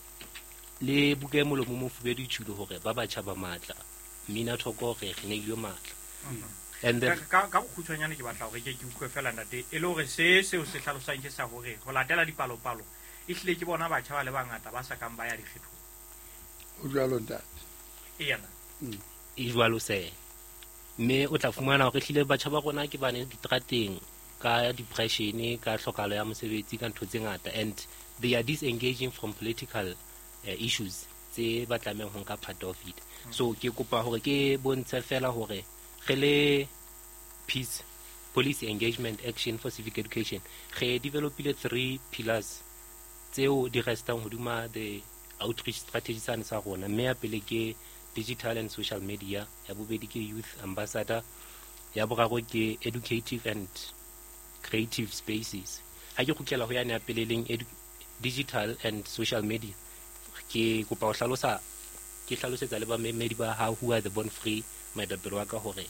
le buka e molomo mo mofubedu e tjhilo hore ba batjha ba matla, mmina thoko re re neilwe matla. And then ka ka bokgutshwanyane ke batla hore ke ke utlwe fela ntate e le hore se seo se hlalosang ke sa hore ho latela dipalopalo e hlile ke bona batjha ba le bangata ba sa kang ba ya dikgethong. Ho jwalo ntate. Eya. E jwalo se. Mme o tla fumana hore hlile batjha ba rona ke bane ditrateng ka depression, ka tlhokahalo ya mosebetsi, ka ntho tse ngata, and they are disengaging from political uh, issues tse ba tlamehang ho nka part of it. So ke kopa hore ke bontshe fela hore re le peace policy engagement action for civic education re developile three pillars tseo di restang hodima the outreach strategy sane sa rona. Mme ya pele ke digital and social media, ya bobedi ke youth ambassador, ya boraro ke educative and creative spaces. Ha ke kgutlela ho yane ya pele leng digital and social media, ke kopa ho hlalosa ke hlalosetsa le bamamedi ba hao who are the born free moetapele wa ka hore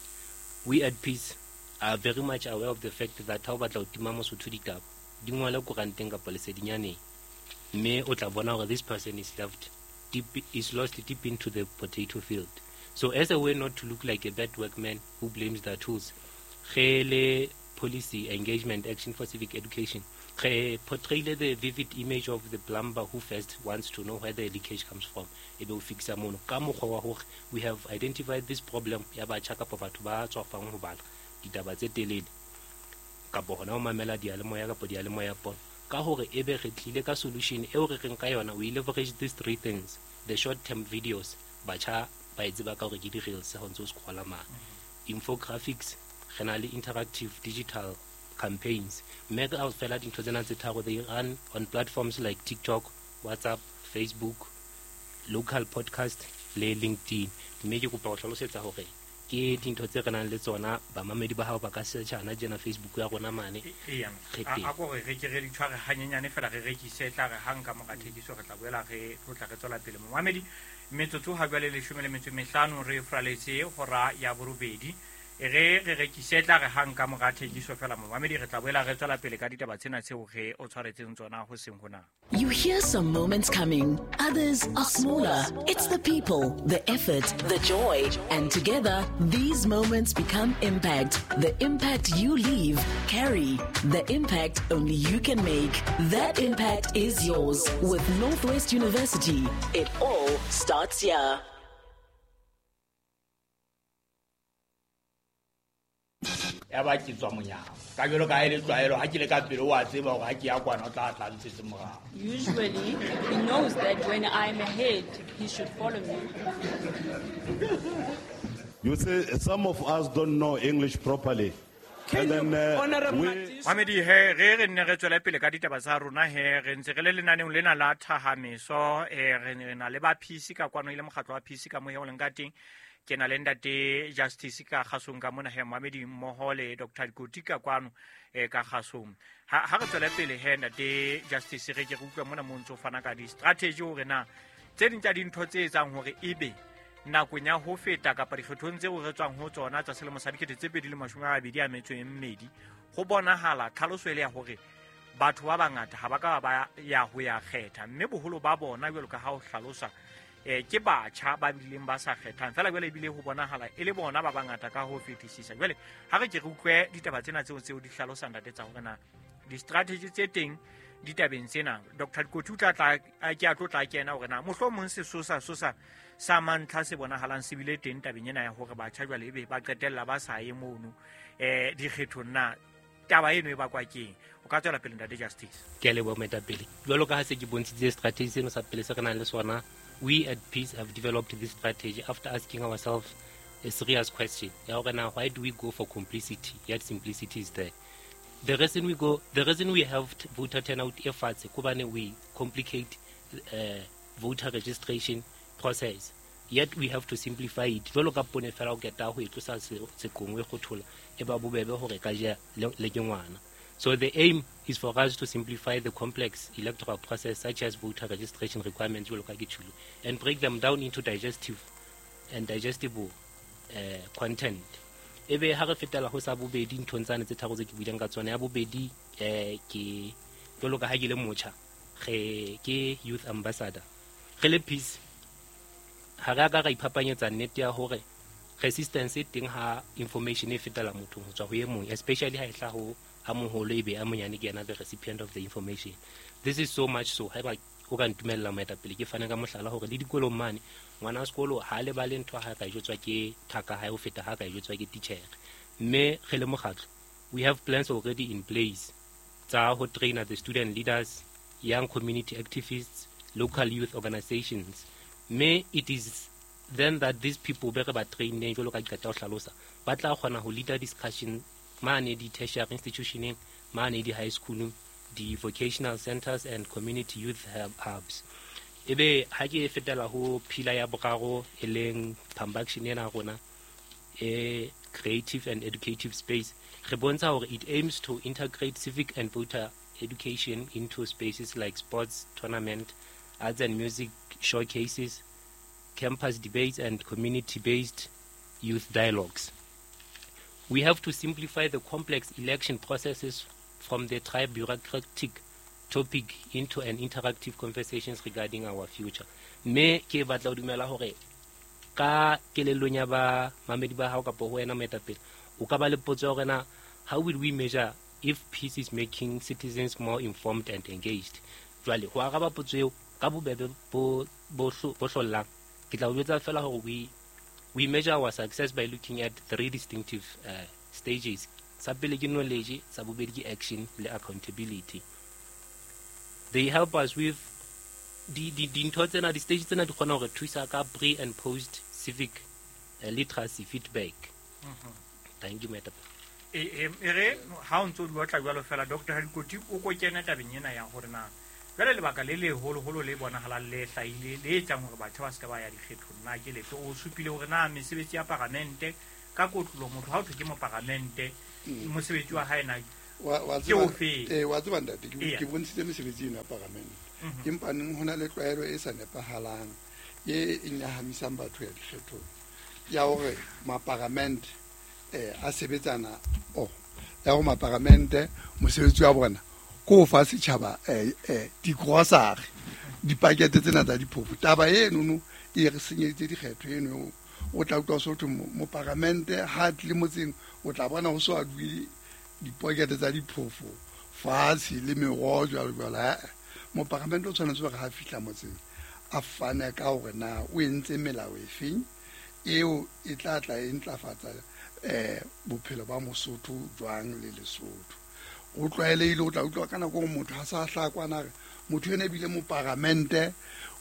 we at peace are very much aware of the fact that ha o batla ho tima Mosotho ditaba di ngole koranteng kapa lesedinyaneng, mme o tla bona hore this person is left deep, is lost deep into the potato field. So as a way not to look like a bad workman who blames their tools, re le policy engagement action for civic education re portrayile the vivid image of the plumber who first wants to know where the leakage comes from, e be o fixa mono ka mokgwa wa hore we have identified this problem ya batjha kapa batho ba tswafang ho bala ditaba tse telele kapa hona ho mamela diyalemoya kapa diyalemoya pono, ka hore ebe re tlile ka solution eo re reng ka yona we leverage these three things: the short term videos, batjha ba e tseba ka hore ke di-reels ha o ntse o scrolla mane, infographics, re na le interactive digital campaigns, mme ka fela dintho tsena tse tharo they run on platforms like TikTok, WhatsApp, Facebook, local podcast le LinkedIn. Mme ke kopa ho hlalosetsa hore Ke dintho tse re nang le tsona bamamedi ba hao ba ka search-ana tjena Facebook ya rona mane. Eya, a ko re re ke re di tshware hanyenyane fela re rekise tla re hang ka mora thekiso re tla boela re tlotla re tswela pele. Momamedi, metsotso ha jwale leshome le metso e mehlano re fraletse hora ya borobedi. E re re rekise tla re hang ka mora thekiso fela momamedi re tla boela re tswela pele ka ditaba tsena tseo re o tshwaretseng tsona ho seng hona. You hear some moments coming, others are smaller. It's the people, the effort, the joy, and together these moments become impact. The impact you leave, carry. The impact only you can make. That impact is yours with Northwest University. It all starts here. Ya ba ke tswa monyako ka jalo ka ele tlwaelo ha ke le ka pele wa tseba hore ha ke ya kwana o tla tla ntshetse morao. Usually he knows that when I'm ahead he should follow me. You see, some of us don't know English properly. And then, uh, we... Mamedi he re re nne re tswela pele ka ditaba tsa rona he re ntse re le lenaneong lena la thahameso e re na le ba P C ka kwano ile mokgatlo wa P C ka mo he o leng ka teng. Ke na le ntate Justice ka kgasong ka mona he Mohamedi mmoho le Doctor Dikoti ka kwano e ka kgasong. Ha ha re tswele pele he ntate Justice re ke re utlwa mona mo ntso fana ka di strategy hore na tse ding tsa dintho tse etsang hore ebe nakong ya ho feta kapa dikgethong tseo re tswang ho tsona tsa selemo sa dikete tse pedi le mashome a mabedi a metso e mmedi ho bonahala tlhaloso ele ya hore batho ba bangata ha ba ka ba ya ho ya kgetha mme boholo ba bona jwalo ka ha o hlalosa eh ke batjha ba bileng ba sa kgethang fela jwale ebile ho bonahala e le bona ba bangata ka ho fetisisa. Jwale ha re ke re utlwe ditaba tsena tseo tseo di hlalosang ntate tsa hore na di-strategy tse teng ditabeng tsena. Doctor Dikoti o tla tla ke a tlo tla kena hore na mohlomong sesosa sosa sa mantlha se bonahalang se bile teng tabeng ena ya hore batjha jwale ebe ba qetella ba sa ye mono eh dikgethong na taba eno e bakwa keng. O ka tswela pele ntate Justice. Ke a leboha moetapele. Jwalo ka ha se ke bontshitse strategy seno sa pele se re nang le sona, we at Peace have developed this strategy after asking ourselves a serious question. Ya hore na why do we go for complicity yet simplicity is there? The reason we go, the reason we have voter turnout efforts, kobane we complicate uh, voter registration process. Yet we have to simplify it. Jwalo ka pone fela o keta ho e tlosa seqong e kgothola e ba bobebe hore ka ja le ke ngwana. So the aim is for us to simplify the complex electoral process such as voter registration requirements jwalo ka ke tjholo and break them down into digestive and digestible uh, content. Ebe ha re fetela ho sa bobedi nthong tsane tse tharo tse ke buileng ka tsona. Ya bobedi eh ke jwalo ka ha ke le motjha re ke youth ambassador re le Peace ha re a ka ra iphapanyetsa nnete ya hore resistance e teng ha information e fetela mothong ho tswa ho e mong, especially ha e hla ho a moholo ebe a monyane ke yena the recipient of the information. This is so much so haeba o ka ntumella moetapele ke fane ka mohlala hore le dikolong mane ngwana wa sekolo ha le bale ntho ha ka jwetswa ke thaka hae ho feta ha ka jwetswa ke teacher. Mme re le mokgatlo we have plans already in place tsa ho train the student leaders, young community activists, local youth organizations. Mme it is then that these people be re ba traineng jwalo ka ke qeta ho hlalosa ba tla kgona ho leader discussion mane di tertiary institutioneng, mane di high schoolong, di vocational centers and community youth hubs. Ebe ha ke fetela ho pillar ya boraro e leng Pambaction ena rona e creative and educative space, re bontsha hore it aims to integrate civic and voter education into spaces like sports tournament, arts and music showcases, campus debates and community-based youth dialogues. We have to simplify the complex election processes from the tribe bureaucratic topic into an interactive conversations regarding our future. Me ke batla ho dumela hore ka kelellong ya ba mamedi ba hao kapa ho wena moetapele o ka ba le potso ya hore na how will we measure if peace is making citizens more informed and engaged? Jwale ho araba potso eo ka bobebe bo bo hlollang ke tla o jwetsa fela hore we we measure our success by looking at three distinctive uh, stages. Sa pele ke knowledge, sa bobedi ke action le accountability. They help us with di di dintho tsena, di-stage tsena di kgona hore thusa ka pre and post civic uh, literacy feedback. Mm-hmm. Thank you, madam. E e re ha o ntso di batla jwalo fela Doctor Hadikoti o ko kena tabeng ena ya hore na jwale lebaka le leholoholo le bonahalang le hlahile le etsang hore batho ba se ka ba ya dikgethong na ke lefe. O supile hore na mesebetsi ya paramente ka kotlolo motho ha o thwe ke moparamente mosebetsi wa hae na wa ke ofe eh wa tseba ntate ke bontshitse mesebetsi ena ya paramente empa neng hona le tlwaelo e sa nepahalang e e nyahamisang batho ya dikgethong ya hore maparamente eh a sebetsana oh ya hore maparamente mosebetsi wa bona ko fa setjhaba eh eh di-grocery dipakete tsena tsa diphofo taba eno no e re senyeditse dikgetho eno o tla utlwa so thwe moparamente ha tle motseng o tla bona ho so a duile dipakete tsa diphofo fatshe le meroho jwalo jwalo. Moparamente o tshwanetse hore ha fihla motseng a fane ka hore na o entse melao efeng eo e tla tla e ntlafatsa eh bophelo ba Mosotho jwang le Lesotho. O tlwaelehile o tla utlwa ka nako e motho ha sa hlakwana re motho ena ebile moparamente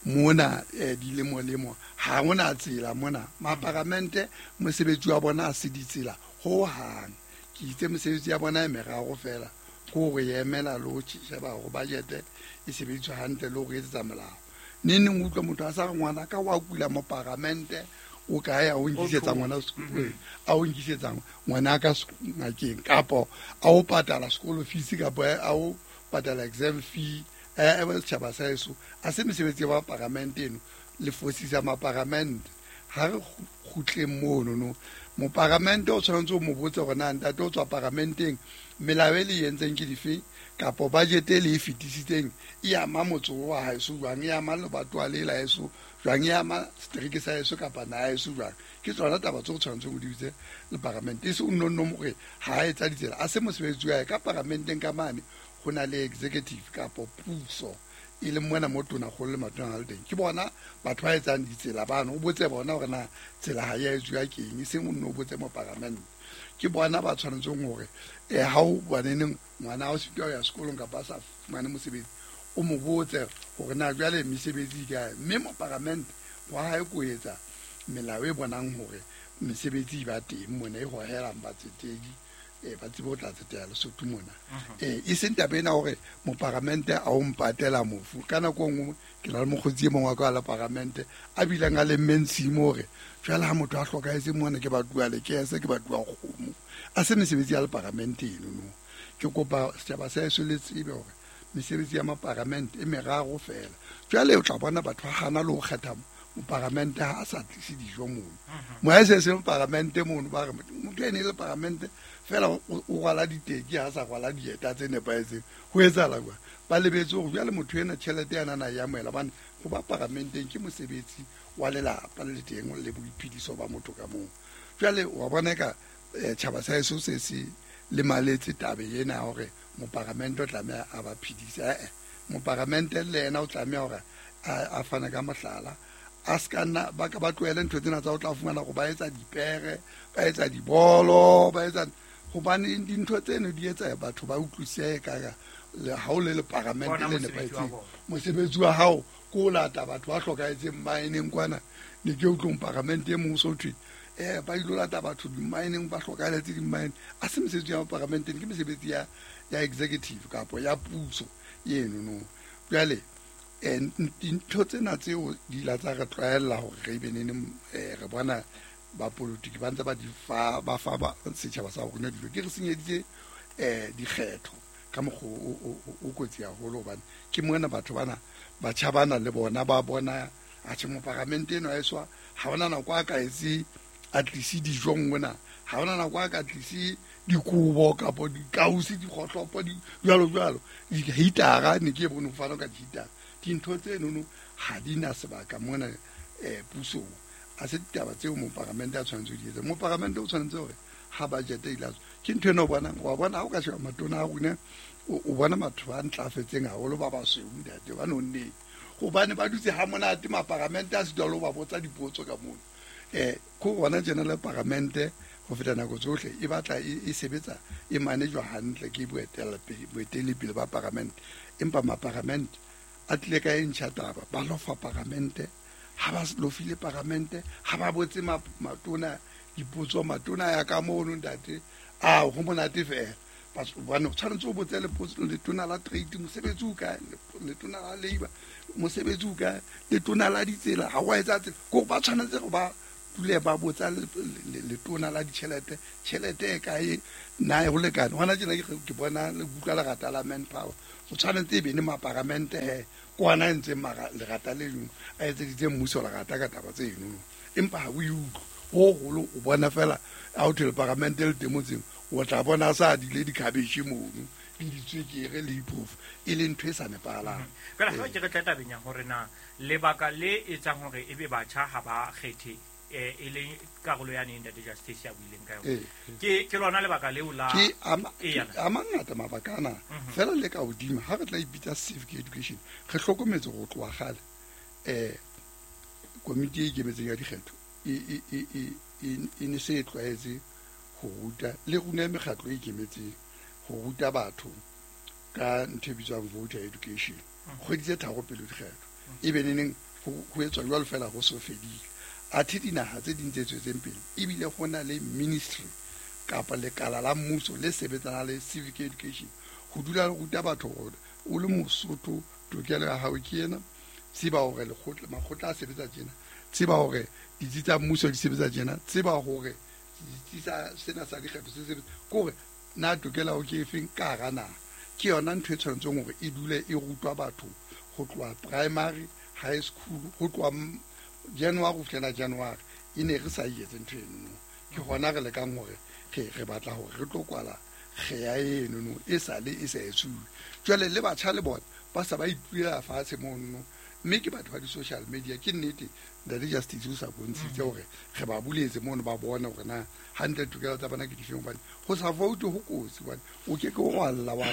mona eh dilemo lemo ha hona tsela mona maparamente mosebetsi wa bona a se ditsela ho hang ke itse mosebetsi ya bona e meraro fela ko re emela lo sheba hore budget e sebediswa hantle le hore etsetsa molao neng neng utlwa motho a sa re ngwana ka wa kula moparamente o ka ya o nkisetsa ngwana a o nkisetsa ngwana ka ngakeng kapo a o patala sekolo fees kapo a o patala exam fee eh setjhaba sa eso a se mesebetsi ya paramente eno le fosisa maparamente ha re kgutleng mono no moparamente o tshwanetse o mo botse hore na ntate o tswa paramenteng melao e le entseng ke dife kapo budget e le e fetisitseng e ama motse wa haeso jwang e ama lebatowa le la haeso jwang e ama setereke sa haeso kapa naha haeso jwang ke tsona taba tseo tshwanetseng o di bitse le paramente e se o nonno hore ha etsa ditsela a se mosebetsi wa hae ka paramenteng ka mane ho na le executive kapo puso e le mona mo tona kgolo le matona a le teng ke bona batho ba etsang ditsela bano o botse bona hore na tsela ha ya etsuwa keng e seng o nno o botse mo paramente ke bona ba tshwanetseng hore eh ha o boneneng ngwana o sitwa ya sekolong kapa a sa fumane mosebetsi o mo botse hore na jwale mesebetsi e kae mme moparamente wa hae ko etsa melao e bonang hore mesebetsi e ba teng mona e hohelang batsetedi eh ba tsebe ho tla tsetela Lesotho mona eh e seng taba ena hore moparamente a o mpatela mofu ka nako nngwe ke na le mokgotsi e mongwe wa ka la paramente a bileng a lemmeng tshimo hore jwale ha motho a hlokahetse mona ke batuwa lekese ke batuwa kgomo a se mesebetsi ya leparamente eno no ke kopa setjhaba sa heso le tsebe hore mesebetsi ya maparamente e meraro fela jwale o tla bona batho ba hana le ho kgetha moparamente ha a sa tlise dijo mono moya se se moparamente mono ba re motho ene le paramente fela o rwala diteki ha sa rwala dieta tse nepahetseng ho etsahala jwang ba lebetse hore jwale motho ena tjhelete ya nana ya amohela hobane ho ba paramenteng ke mosebetsi wa lelapa le teng le boiphediso ba motho ka mong jwale wa bona ka tjhaba sa heso se se lemaletse tabe ena hore moparamente o tlameha a ba phedise eh moparamente le yena o tlameha hore a fane ka mohlala a ska nna ba ka ba tlohele ntho tsena tsa o tla fumana go ba etsa dipere ba etsa dibolo ba etsa hobane dintho tseno di etsa batho ba utlwisise ka ha o le le paramente le nepahetseng mosebetsi wa hao ko lata batho ba hlokahetseng mmaeneng kwana ne ke utlwong paramente e mong so thwe eh ba ilo lata batho dimmaeneng ba hlokahetse dimmaene a se mesebetsi ya paramenteng ke mesebetsi ya ya executive kapo ya puso eno no jwale dintho tsena tseo di la tsa re tlwaella hore re be neng re bona ba politiki ba ntse ba di fa ba fa ba setjhaba sa rona dilo ke re senyeditse eh dikgetho ka mokgwa o kotsi haholo hobane ke mona batho bana batjha bana le bona ba bona atjhe moparamente eno a eswa ha hona nako a ka etse a tlise dijo mona ha hona nako a ka tlise dikobo kapo dikausi dikgohlopo di jwalo jwalo dihitara ne ke bone ho fana ka dihitara dintho tseno no ha di na sebaka mona eh pusong a se ditaba tseo moparamente a tshwanetse ho di etsa moparamente o tshwanetse hore ha budget e ilatswa ke ntho ena o bonang wa bona ha o ka sheba matona a rona o bona batho ba ntlafetseng haholo ba basweu ntate ba nonneng hobane ba dutse ha monate maparamente a sitwa le ho ba botsa dipotso ka mono eh ko bona general paramente ho feta nako tsohle e batla e sebetsa e manejwa hantle ke boeteledipele ba paramente empa maparamente a tlile ka e ntšha taba ba lofa paramente ha ba lofile paramente ha ba botse matona dipotso matona ya ka mono ntate a ho monate fela bane o tshwanetse o botse letona la trade mosebetsi o kae letona la labour mosebetsi o kae letona la ditsela ha wa etsa tsela ko ba tshwanetse go ba dule ba botsa letona la ditjhelete tjhelete e kae na e ho lekane hona tjena ke bona le buka lerata la manpower o tshwanetse e be ne maparamente he kwana e ntseng lerata le leng a etseditse mmuso lerata ka taba tse eno empa ha o e utlwe ho holo o bona fela a o thele paramente le temo tseng o tla bona sa dile dikhabetjhe mono le ditswekere le diphofu e le ntho e sa nepahalang. Fela ha ke re tla tabeng ya hore na lebaka le etsang hore ebe batjha ha ba kgethe e le karolo ya neng Ntate Justice ya buileng ka yona ke ke lona lebaka leo la ke a mangata mabaka ana fela le ka hodimo ha re tla ipitsa civic education re hlokometse go tloha kgale eh komiti e ikemetseng ya dikgetho e e e e ne se e tlwaetse go ruta le rona mekgatlo e ikemetseng go ruta batho ka ntho e bitswang voter education kgwedi tse tharo pele dikgetho e be neneng ho etswa jwalo fela go so fedile athe dinaha tse ding tse tswetseng pele ebile go na le ministry kapa lekala la mmuso le sebetsana le civic education go dula le ruta batho gore o le Mosotho tokelo ya hao ke ena tseba hore lekgotla makgotla a sebetsa tjena tseba hore ditsi tsa mmuso di sebetsa tjena tseba hore ditsi tsa sena sa dikgetho se sebetsa kore na tokelo ya ke efeng ka hara naha ke yona ntho e tshwanetseng hore e dule e rutwa batho go tloha primary high school go tloha January go fihlela January e ne re sa etse ntho eno ke hona re lekang hore re re batla hore re tlo kwala kgeya eno no e sale e sa etsuwe jwale le batjha le bona ba sa ba ipuela fatshe mono mme ke batho ba di-social media ke nnete Ntate Justice o sa bontshitse hore re ba buletse mono ba bone hore na hantle tokelo tsa bona ke difeng hobane go sa vote ho kotsi hobane o ke ke wa lla wa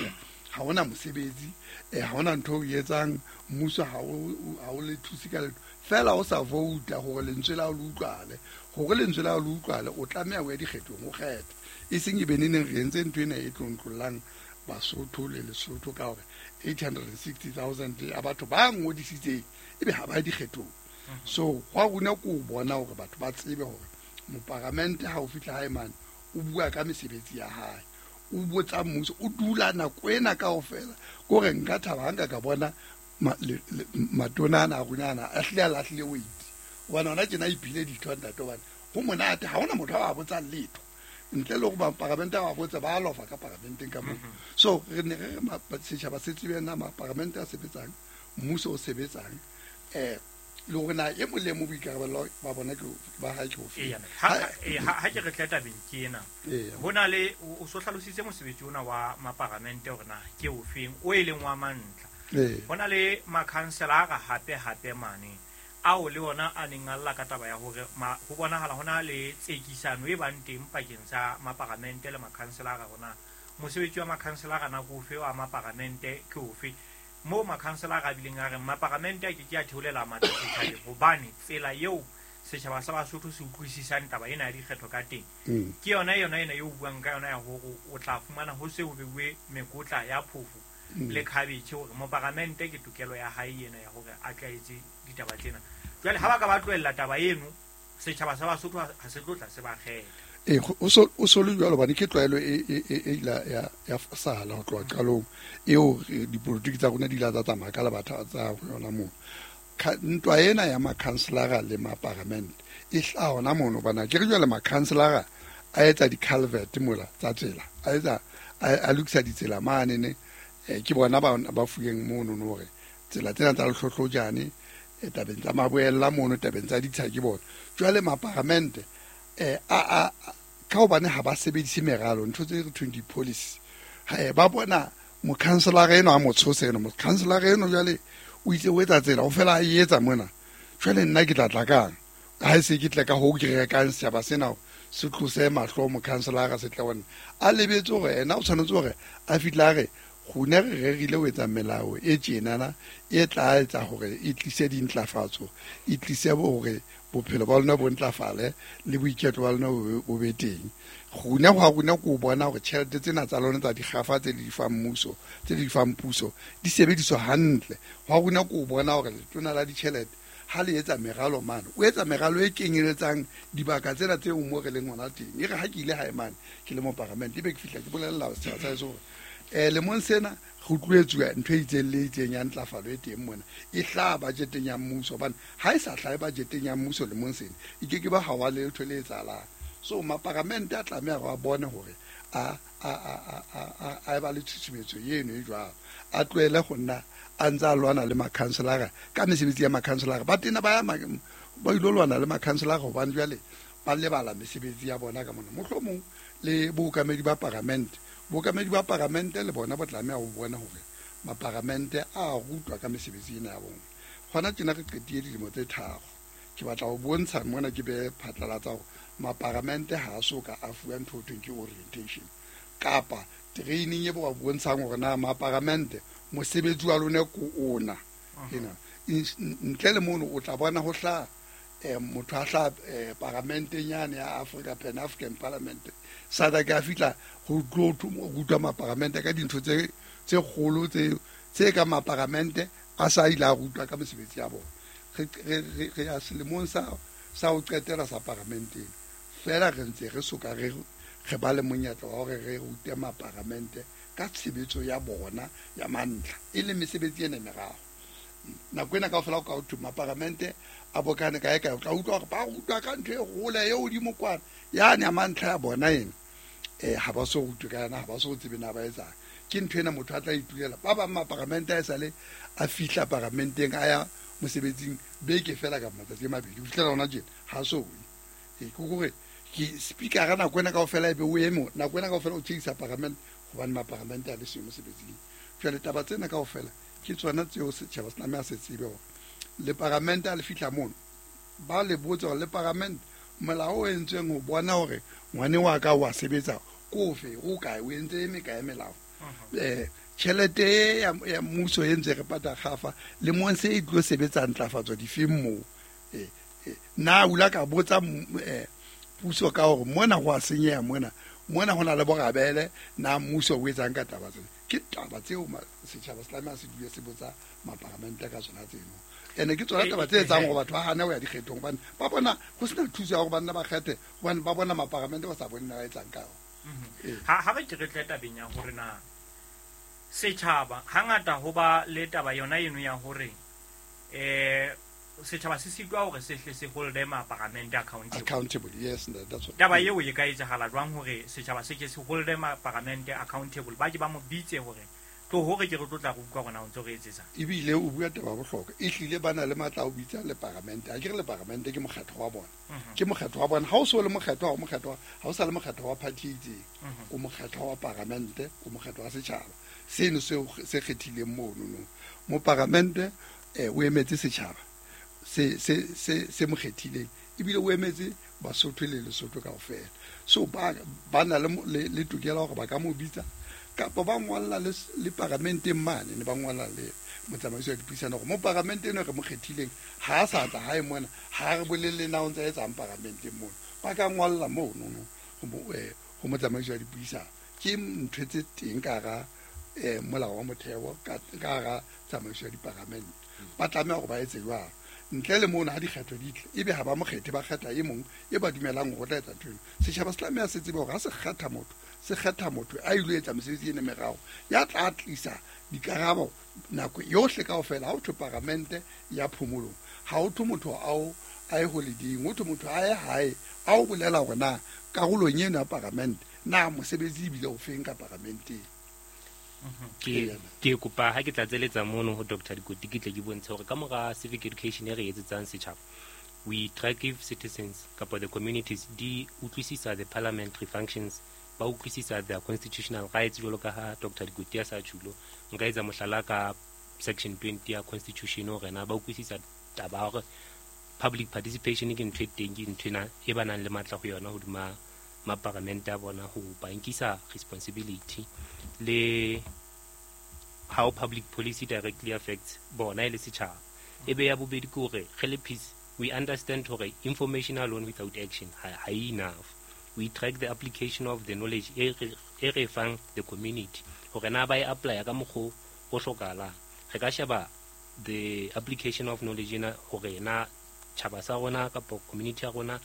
ha hona mosebetsi eh ha hona ntho o etsang mmuso ha o ha o le thuse ka letho fela o sa vouta hore lentswe la o le utlwale hore lentswe la o le utlwale o tlameha ho ya dikgethong o kgethe e seng e be neneng re entse ntho ena e tlontlollang Basotho le Lesotho ka hore eight hundred sixty thousand a batho ba ngodisitseng ebe ha ba dikgethong so hwa rona ko bona hore batho ba tsebe hore moparamente ha o fihla hae mane o bua ka mesebetsi ya hae o botsa mmuso o dula nako ena kaofela kore nka thaba ha nka ka bona matona ana a rona ana a hlile a lahlile weight hobane hona tjena a iphile ditho ntate hobane ho monate ha hona motho a ba botsang letho ntle le hore maparamente a ba botsa ba lofa ka paramenteng ka moo so re ne re re setjhaba se tsebe na maparamente a sebetsang mmuso o sebetsang eh le hore na e mong le mong boikarabelo ba bona ke ba hae ke ofe ha ke re tla tabeng ke ena ho na le o so hlalositse mosebetsi ona wa maparamente hore na ke ofeng o e leng wa mantlha ho na le makhanselara hape hape mane ao le ona a neng a lla ka taba ya hore ho bonahala hona le tsekisano e bang teng pakeng tsa maparamente le makhanselara hona mosebetsi wa makhanselara na ke ofe wa maparamente ke ofe mo makhanselara a bileng a reng maparamente a ke ke a theolela matla setjhabeng hobane tsela eo setjhaba sa Basotho se utlwisisang taba ena ya dikgetho ka teng ke yona yona ena eo buang ka yona ya hore o tla fumana ho se ho beuwe mekotla ya phofo le khabetjhe hore moparamente ke tokelo ya hae ena ya hore a tla etse ditaba tsena jwale ha ba ka ba tlohella taba eno setjhaba sa Basotho ha se tlo tla se ba kgetha e o so o so le jwalo bane ke tlwaelo e e e la ya ya sala ho tloha qalong eo dipolotiki tsa rona di la tsa tsamaya ka lebatha tsa yona moo ntwa ena ya makhanselara le maparamente e hlaha hona mono bana ke re jwale makhanselara a etsa di-culvert mola tsa tsela a etsa a lokisa ditsela mane ne ke bona ba ba fueng mono no hore tsela tsena tsa lehlohlojane tabeng tsa maboella mono tabeng tsa ditsha ke bona jwale maparamente eh a a ka hobane ha ba sebedise meralo ntho tse re thweng di-policy ha ba bona mokhanselara eno a mo tshose eno mokhanselara eno jwale o itse o etsa tsela o fela a e etsa mona jwale nna ke tla tla kang ha e se ke tle ka ho ke rekang setjhaba sena se tlose mahlo mokhanselara se tla bona a lebetse hore ena o tshwanetse hore a fihla a re gone re rerile ho etsa melao e tjenana e tla etsa hore e tlise dintlafatso e tlise hore bophelo ba lona bo ntlafale le boiketlo ba lona bo be teng gone go a rona ko bona hore tjhelete tsena tsa lona tsa dikgafa tse le di fang mmuso tse le di fang puso di sebediswa hantle go a rona ko bona hore letona la ditjhelete ha le etsa meralo mane o etsa meralo e kenyeletsang dibaka tsena tseo mo re leng hona teng e re ha ke ile hae mane ke le moparamente ebe ke fihla ke bolella setjhaba sa heso hore um lemong sena go tloetsuwa ntho e itseng le itseng ya ntlafalo e teng mona e hlaha budgeteng ya mmuso hobane ha e sa hlahe budgeteng ya mmuso lemong sena e ke ke ba ha wa letho le etsahalang. So maparamente a tlameha hore a bone hore a a a a a ba le tshusumetso eno e jwalo, a tlohele go nna a ntse a lwana le makhanselara ka mesebetsi ya makhanselara. Ba tena ba ya ba ilo lwana le makhanselara hobane jwale ba lebala mesebetsi ya bona ka mona. Mohlomong le bookamedi ba paramente, bookamedi ba paramente le bona bo tlameha ho bona hore maparamente a rutwa ka mesebetsi ena ya bona. Hona tjena re qetile dilemo tse tharo, ke batla ho bontsha mona ke be phatlalatsa hore maparamente ha a so ka a fuwa ntho ho thweng ke orientation kapa training e bo ba bontshang hore na maparamente mosebetsi wa lona ko ona. Ena ntle le mono o tla bona ho hla motho a hla paramenteng yane ya Africa Pan African Parliament SADC a fihla ho tlo rutwa maparamente ka dintho tse tse kgolo tse tse ka maparamente a sa ile a rutwa ka mesebetsi ya bona. Re re re ya selemong sa sa ho qetela sa paramenteng fela re ntse re soka re re ba le monyetla wa hore re rute maparamente ka tshebetso ya bona ya mantlha e le mesebetsi ena meraro. Nako ena kaofela o ka ho thwe maparamente a bokane kae kae, o tla utlwa hore ba rutwa ka ntho e hole e hodimo kwana yane ya mantlha ya bona ena um ha ba so rutwe ka yona, ha ba so tsebe na ba etsang. Ke ntho ena motho a tla itulela. Ba bang maparamente a esale a fihla paramenteng a ya mosebetsing beke fela ka matsatsi a mabedi ho fihlela hona tjena ha so we. Ke hore ke speaker nako ena kaofela ebe o eme nako ena kaofela o tjhekisa paramente hobane maparamente a le siyo mosebetsing. Jwale taba tsena kaofela ke tsona tseo setjhaba se tlameha se tsebe hore le paramente a le fihla mono ba le botse hore le paramente molao o entsweng ho bona hore ngwane wa ka wa sebetsa ko ofe, o kae, o entse e mekae melao. Um tjhelete ya mmuso e ntse re pata kgafa lemong se e tlo sebetsa ntlafatso difeng moo. Na o la ka botsa puso ka hore mona ho a senyeha mona mona ho na le borabele, na mmuso o etsang ka taba tsena. Ke taba tseo setjhaba se tlameha se dule se botsa maparamente ka tsona tseno. Ene ke tsona taba tse etsang hore batho ba hane ho ya dikgethong hobane ba bona ho sena thuso ya hore banna ba kgethe hobane ba bona maparamente ba sa bone na ba etsang ka ona. Ha ha re ke re tle tabeng ya hore na setjhaba hangata ho ba le taba yona eno ya hore eh setjhaba se sitwa hore se hle se holde maparamente accountable. Accountable, yes, that's what. Taba eo e ka etsahala jwang hore setjhaba se ke se holde maparamente accountable, ba ke ba mo bitse hore tlo hore ke re tlo tla go utlwa rona o ntse re etsetsa. Ebile o bua taba bohlokwa, e hlile ba na le matla a ho bitsa le paramente. Ha ke re le paramente ke mokgatlo wa bona, ke mokgatlo wa bona. Ha o so le mokgatlo wa mokgatlo, ha o sa le mokgatlo wa party e itseng, o mokgatlo wa paramente, o mokgatlo wa setjhaba seno se se kgethileng mono no. Mo paramente o emetse setjhaba se se se se mo kgethileng, ebile o emetse Basotho le Lesotho kaofela. So ba ba na le le tokelo hore ba ka mo bitsa kapa ba ngolla le le paramenteng mane ne ba ngolla le motsamaisi wa dipuisano hore mo paramenteng eno re mo kgethileng ha a sa tla hae mona, ha re bolelle na o ntse a etsang paramenteng mono. Ba ka ngolla mono no ho motsamaisi wa dipuisano. Ke ntho tse teng ka hara molao wa motheo ka hara tsamaiso ya diparamente. Ba tlameha hore ba etse jwalo. Ntle le mono ha dikgetho di tle ebe ha ba mo kgethe, ba kgetha e mong e ba dumelang hore o tla etsa ntho eno. Setjhaba se tlameha se tsebe hore ha se kgetha motho, se kgetha motho a ilo etsa mesebetsi ena meraro ya tla tlisa dikarabo nako yohle kaofela. Ha ho thwe paramente ya phomolong, ha ho thwe motho ao a ye holiday-ing, ho thwe motho a ye hae a o bolela hore na karolong eno ya paramente na mosebetsi ebile o feng ka paramenteng. Ke ke kopa ha ke tlatseletsa mono ho Doctor Dikoti ke tle ke bontshe hore ka mora civic education e re etsetsang setjhaba, we track if citizens kapa the communities di utlwisisa the parliamentary functions, ba utlwisisa their constitutional rights jwalo ka ha Doctor Dikoti a sa tjhulo. Nka etsa mohlala ka section twenty ya constitution hore na ba utlwisisa taba hore public participation ke ntho e teng, ke ntho ena e ba nang le matla ho yona hodima maparamente a bona ho ba nkisa responsibility le how public policy directly affects bona e le setjhaba. E be ya bobedi ke hore re le peace we understand hore information alone without action ha ha enough. We track the application of the knowledge e re fang the community hore na ba e apply ka mokgo o hlokahalang. Re ka sheba the application of knowledge ena hore na tjhaba sa rona kapa community ya rona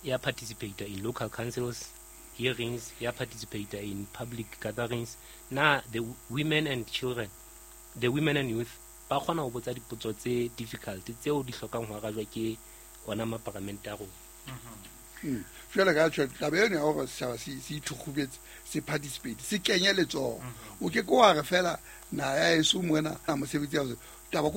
ya participate in local councils, hearings, ya participate in public gatherings. Na the women and children, the women and youth ba kgona ho botsa dipotso tse difficult tseo di hlokang ho arajwa ke ona maparamente a rona. Mm. Jwale ka tjho taba eno ya hore setjhaba se se ithukhubetse, se participate, se kenye letsoho. O ke ke wa re fela naha ya heso mona mosebetsi ya taba.